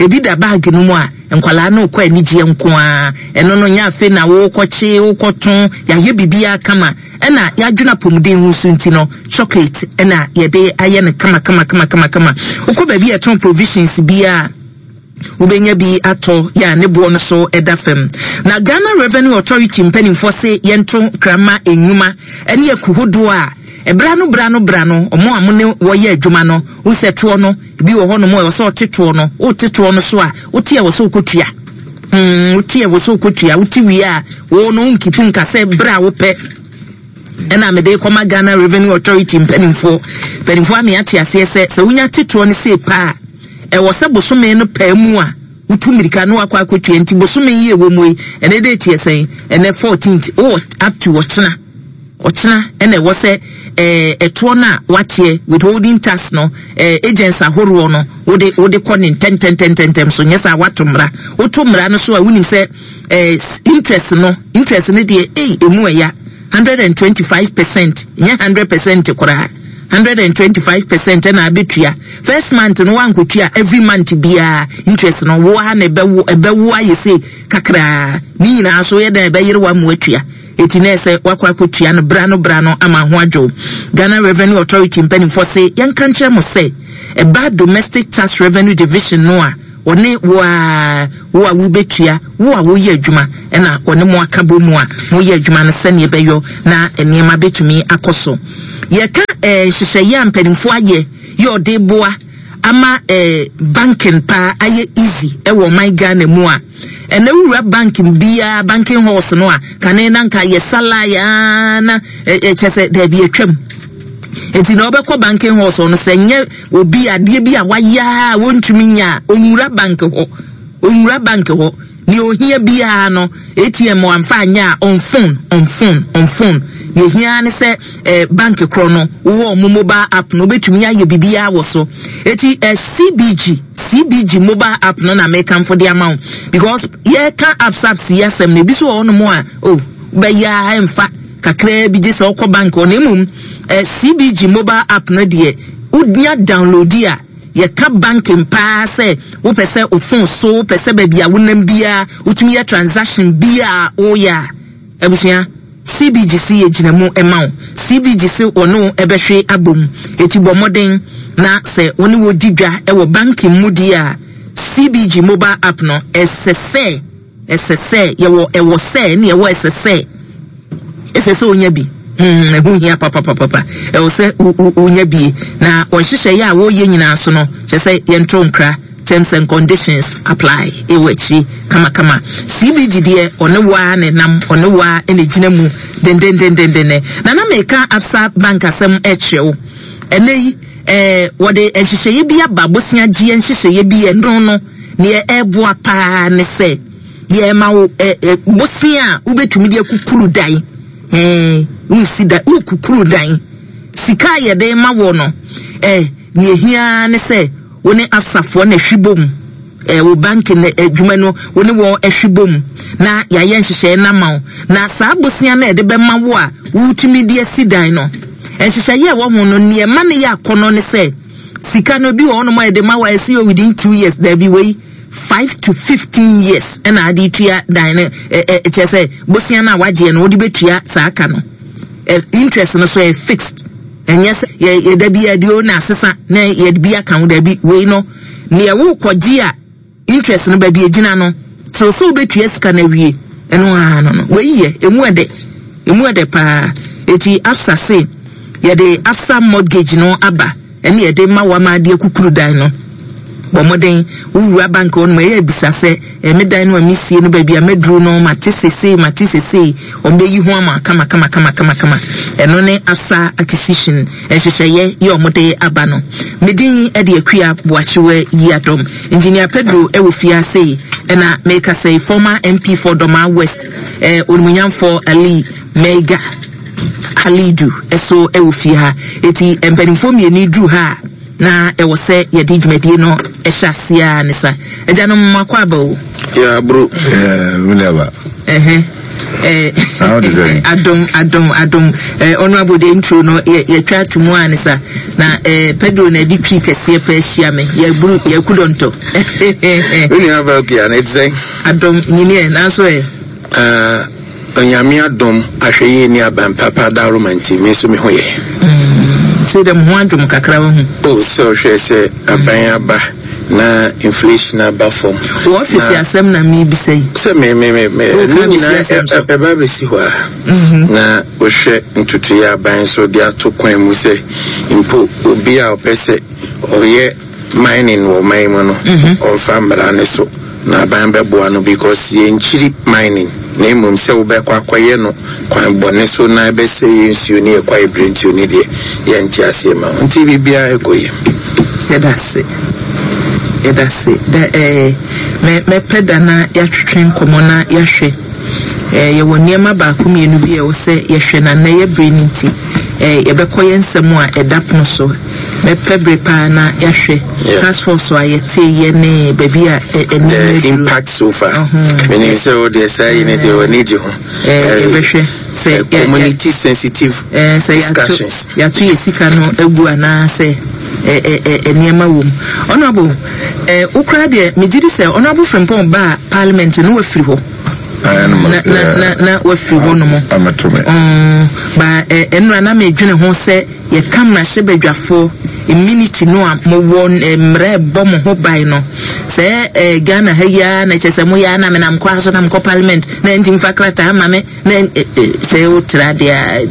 ebi da baagi no mu a nkwadaa no kɔ anigyeɛ nko ara ɛno no nyɛ afei na wokɔkye wokɔto yɛayɛ biribiara kama Ɛna yɛadwene apɔmuden ho nso nti no, chocolate na yɛde ayɛ no kama kama kama kama kama. Wokɔ baabi a yɛtɔn provisions biara a, wobɛnya bi atɔ yɛ a ne boɔ no so da fam. Na Ghana Revenue Authority mpanimfoɔ se yɛnto nkra mma nnwuma ne aku hodoɔ a ɛberɛ ano berɛ ano berɛ ano wɔn a mo ne wɔyɛ adwuma no, wohu sɛ toɔ no, ebi wɔ hɔnom a ɛwɔ sɛ ɔte toɔ no, wote toɔ no so a, wote a ɛwɔ sɛ wokɔtua. Mm, wote a ɛwɔ sɛ wokɔtua, wote wie a, wo no wonkipu nka sɛ berɛ a wopɛ ɛna mede kɔma Ghana Revenue Authority mpanimfoɔ. Mpanimfoɔ ame ate aseɛ sɛ sɛ wonya te toɔ no sei paa a, ɛwɔ sɛ bosome no paa mu a wotu mmirika na wakɔ akɔtua. Nti bosome yi ɛwɔ mu yi, ɛnɛ date yɛ sɛn? Ɛnɛ 14th, wowɔ up to ɔkyena. Ɔkyena ɛna ɛwɔ sɛ ɛɛ ɛtoɔ no a wateɛ withholding tax no ɛɛ agents ahoroɔ no wode wode kɔ ne ntɛntɛntɛntɛntɛm so nyɛ saa wato mmara. Woto mmara no so a wonim sɛ ɛɛ interest no interest no deɛ ei emu ɛya 125% nyɛ 100% koraa 125% ɛna abɛtua first month no wankotua every month biara interest no wo ara na ɛbɛwo ɛbɛwo ayɛ sei kakraa ne nyinaa so yɛ dɛn ɛbɛyere wa mu atua. Eti na ɛsɛ wakɔ akɔtua no bra no bra no ama ho adwo. Ghana Revenue Authority mpanimfoɔ se yɛnka nkyerɛ mo sɛ ɛba Domestic Tax Revenue Division no a wɔne wo a wo a wobɛtua, wo a woyɛ adwuma ɛna wɔne mo aka bɔ mu a moyɛ adwuma no sɛdeɛ ɛbɛyɔ na nneɛma bɛtumi akɔ so. Yɛka eh, nhyehyɛeɛ a mpanimfoɔ ayɛ yɛ ɔde boa ama eh, banking paa ayɛ easy ɛwɔ ɔman Ghana mu a, Ɛnɛ wowura bank biara banking halls no a, kane na nka yɛ salai aa na ɛkyɛ sɛ daabi atwam. Nti na ɔbɛkɔ banking halls no sɛ nyɛ obi adeɛ bi a wayɛ a wɔntumi nyɛ a ɔnwura bank hɔ. Ɔnwura bank hɔ. Nea ohia biara no ATM wamfa anyɛ a on phone on phone on phone. Nea ehia ne sɛ eh, bank korɔ no wowɔ ɔmo mobile app no wobɛtumi ayɛ biribiara wɔ so. Eti eh, CBG CBG mobile app no na mekamfo de ama wo because yɛka apps apps yi asɛm no ebi so wɔ hɔnom a oh bɛyɛ a ɛmfa kakraa bi gye sɛ ɔkɔ bank hɔ na mmom eh, CBG mobile app no deɛ wonya download a yɛka banking paa sɛ wopɛ sɛ wo phone so wopɛ sɛ baabi a wonam biara wotumi yɛ transaction biara woyɛ a abusua CBG se yɛgyina mu ma wo. CBG se wɔne wo bɛhwe abom. Eti bɔ mmɔden na sɛ wo ne wɔ di dwa wɔ banking mu deɛ a, CBG mobile app no, ɛsɛ sɛ, ɛsɛ sɛ, yɛwɔ ɛwɔ sɛ ne yɛwɔ ɛsɛ sɛ, ɛsɛ sɛ wonya bi. Hmm, ɛho hia papapapapa. Ɛwɔ sɛ wonya bi. Na wɔn nhyehyɛeɛ a wɔreyɛ nyinaa so no, kyerɛ sɛ yɛnto nkra. Terms and conditions apply wɔ akyiri kamakama. CBG deɛ ɔne wo ara na ɛnam, ɔne wo ara na ɛgyina mu dendendendenden. Na na meka Absa Bank asɛm kyerɛ wo. Ɛnɛ yi, eh, wɔde nhyehyɛeɛ bi aba, bosea gyeɛ nhyehyɛeɛ bi, ɛno no, neɛ ɛreboa paa ne sɛ, yɛrema wo eh, eh, bosea a wobɛtumi de akukuru dan. Eh, wonsi dan, wokukuru dan. Sika a yɛde ma wɔ no, eh, neɛ ɛhia ne sɛ, Wo ne Absafoɔ na hwi bom, eh, wo banki no adwuma no, wo ne wɔn hwi bom na yɛayɛ nhyehyɛeɛ no ama wo. Na saa bosea no a yɛde bɛma wo a wotumi de asi dan no, nhyehyɛeɛ a ɛwɔ ho no, nea ɛma no yɛ akɔnnɔ ne sɛ, sika no, ebi wɔ hɔnom a yɛde ma wo a ɛsi yɛ within 2 years, daabi wei, 5 to 15 years ɛna ade tua dan no, ɛ, ɛ, kyerɛ sɛ bosea no a wagyeɛ no, wode bɛtua saa ka no. Ɛ, interest no so ɛyɛ fixed. Ɛnyɛ sɛ yɛ yɛ da bi yɛde o na asesa na yɛde bi aka ho dabi wei no neɛ wokɔgye a interest no baabi egyina no till sɛ wobɛtua sika no awie ɛno ara no no wei yɛ emu ɛdɛ emu ɛdɛ paa eti Absa se yɛde Absa mortgage no aba ɛne yɛde ma wama adeɛ kukuru dan no bɔ mmɔden wowura bank hɔ nom ɛyɛ bisa sɛ me dan no a mesie no baabi a maduru no mate sesei mate sesei wɔn bɛyi ho ama kama kama kama kama kama ɛno ne afsa acquisition nhyehyɛeɛ yɛ wɔn de aba no me din de Akua Boakyewa Yiadom Engineer Pedro ɛwɔ fie ase yi ɛna meka sɛ former MP for Dɔma West eh, Onimunyamfoɔ Ali Meiga Halidu ɛso ɛwɔ fie ha eti mpanimfoɔ mmienu duru ha a Na ɛwɔ sɛ yɛde dwumadie no hyɛ aseɛ ara ne sa. Agyanom mo akɔ aba o. Yeah, bro. Yeah, me never. Uh-huh. Eh, adom adom adom eh, honorable de intro no yɛtwa ato mu a ne sa na eh, pedro na ɛde twi kɛseɛ pɛ ahyia me yɛburu yɛku dɔntɔ me nua ba pia na ɛte sɛn adom nyiniɛ nanso ɛ Ah, Onyame adom, ahwɛyie ne aban papa adaworoma nti, me nso me ho yɛ. Mm, sei dɛ mo ho adwo mo kakra wahu. Oh, sɛ ɔhwɛ sɛ aban aba na inflation aba fam. Wɔ ɔfisi asɛm na mebisa yi. Sɛ me me me me ne nyinaa ɛba abɛsi hɔ a. Mhm. Na wohwɛ ntotoeɛ aban nso de ato kwan mu sɛ mpo obi a ɔpɛ sɛ ɔyɛ mining wɔ ɔman mu no, ɔmfa mmara no so. Na aban bɛboa no because yɛnkyiri mining na mmom sɛ wobɛkɔ akɔyɛ no kwan bɔne so na ɛbɛsɛe yɛn nsuo ne yɛn kwaeɛ birentuo no deɛ yɛnte aseɛ ma wo. Nti biribiara ɛkɔ yie. Yɛda ase. Yɛda ase. Da ɛɛ mɛ mɛpɛ da na yɛatwetwe nkɔmmɔ na yɛahwɛ. Ɛɛ yɛwɔ nneɛma baako mmienu bi a ɛwɔ sɛ yɛhwɛ na nnɛ yɛ bere no nti ɛɛ yɛbɛkɔ yɛn nsɛm a ɛda pono so. Mɛpɛ bere paa na yɛahwɛ task force a yɛtee yɛ ne baabi a nneɛma aduru. The impact so far. Menim sɛ wo deɛ saa yi ne deɛ w'ani gye ho. Yɛbɛhwɛ sɛ community sensitive discussions. Yɛato yɛ sika no agu anaasɛ nneɛma wɔ mu. Honourable, wo koraa deɛ megye di sɛ Honourable Frimpong baa parliament no wafiri hɔ. Na na na na wafiri hɔ nom. Ba ɛnora na medwene ho sɛ Yɛka mmarahyɛbadwafoɔ, immunity no a mowɔ, mmara a ɛbɔ mo ho ban no, sɛ eh, Ghana ha yi ara na kyerɛ sɛ moyɛ ara na menam kwan so na mekɔ parliament na ɛnti mfa krataa ma me na sɛ wotra deɛ a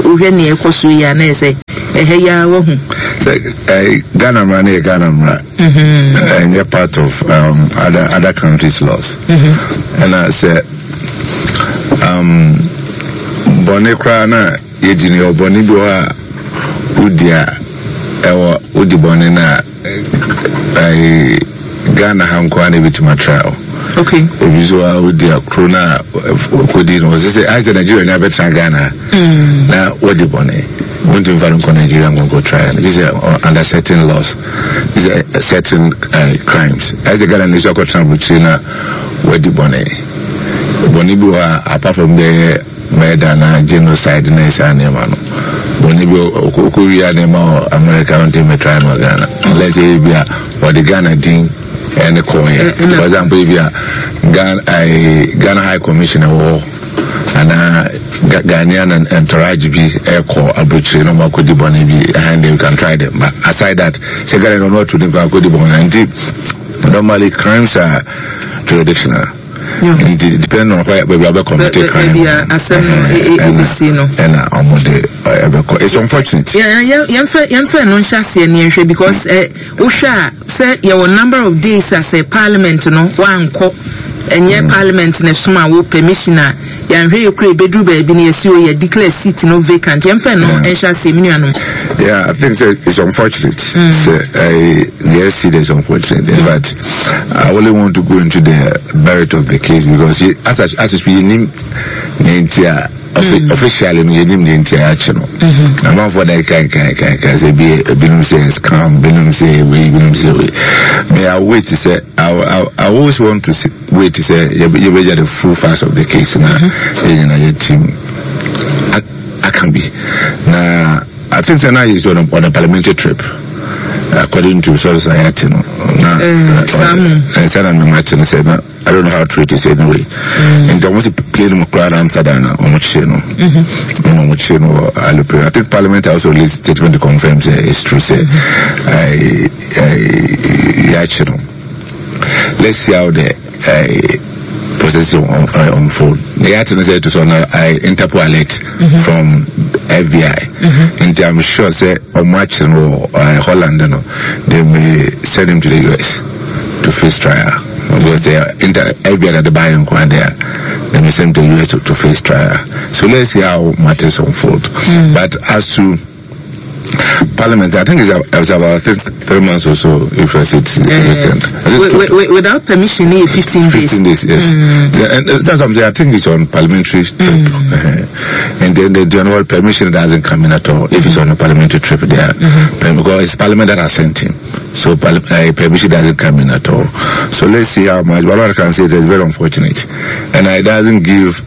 wohwɛ nea ɛkɔ so yi a na ɛyɛ sɛ ɛha yi ara wahu. Sɛ Ghana mmara no yɛ Ghana mmara, ɛnyɛ part of other countries laws. Ɛna sɛ bɔne koraa na Yɛdi no, yɛwɔ bɔne bi wɔ hɔ a wodi a ɛwɔ wodi bɔne no a ɛɛ Ghana ha nko ara na ebetumi atra o. Okay. Ebi nso a wodi a kuro no a kodi no wɔsɛ sɛ ayɛ sɛ Nigeria ni abɛtena Ghana ha na wadi bɔne wontumi fa no nkɔ Nigeria nkɔnkɔ try no gye sɛ under certain laws gye sɛ certain crimes ayɛ sɛ Ghana ni nso akɔtena aburokyire na wadi bɔne bɔne bi wɔ hɔ a apart from bɛyɛ Murder anaa genocide ne saa nneɛma no. Bɔne bi ɔkɔ wia nneɛma wɔ America no ntumi try no wɔ Ghana. Unless ebi a wɔde Ghana din ɛne kɔɔyɛ. For example ebi a Ghana Ghana High Commission wɔ hɔ anaa Ghanaian entourage bi ɛkɔ aburokyire na wɔn akɔdi bɔne bi and they can try them. But aside that, sɛ Ghana no ɔno atu ne kwan akɔdi bɔne nti normally crimes are jurisdictional. Nti depend on where baabi a bɛ commit crime. Baabi a asɛm no ebesi no. Ɛna ɔmo de ɛbɛkɔ. It's unfortunate. Yɛnfɛ yɛnfɛ no nhyɛ aseɛ ne yɛnhwɛ because ɛ wohwɛ a sɛ yɛwɔ number of days a sɛ parliament no wankɔ ɛnyɛ parliament na ɛsoma wo permission a yɛanhwɛ yɛ kura ebeduru baabi no yɛsi o yɛ declare seat no vacant yɛnfɛ no nhyɛ aseɛ mi nuanom. Yeah, I think say it's unfortunate. Sɛ ɛɛ yes, it is unfortunate. In fact, I only want to go into the merit of the case because he, as as you speak, yɛnim ne nti a officially no yɛnim ne nti a yɛakye no. Amanfoɔ na ɛka nka nka nka sɛ ebi ebinom sɛ scam, binom sɛ wei, binom sɛ wei. May I wait sɛ I always want to see, wait sɛ yɛbɛgya the full facts of the case na yɛn nyinaa yɛ team aka bi na I think sɛ na he's on a parliamentary trip according to sources a yɛate no na sɛ na mema te no sɛ na I don't know how true it is anyway nti ɔmo si plane mu koraa na Amsterdam na ɔmo kyerɛ no ɛna ɔmo kyerɛ no wɔ alupere. I think parliament also released statement to confirm sɛ it's true sɛ yɛakye no. Let's see how the process unfold. The yɛate no sɛ it was on Interpol alert from FBI. Nti I'm sure sɛ ɔmo akye no wɔ Holland no, they may send him to the US to face trial. Because the FBI na de baayɛ nko ade a, they may send him to the US to face trial. So let's see how matters unfold. But as to Parliament, I think it's about 3 months or so if I say it's uh, without permission, 15 days. 15 days, yes. Yeah, and that's something I think it's on parliamentary trip. And then the general permission doesn't come in at all if it's on a parliamentary trip there. Because it's parliament that has sent him. So permission doesn't come in at all. So let's see how much. But what I can say is it's very unfortunate. And it doesn't give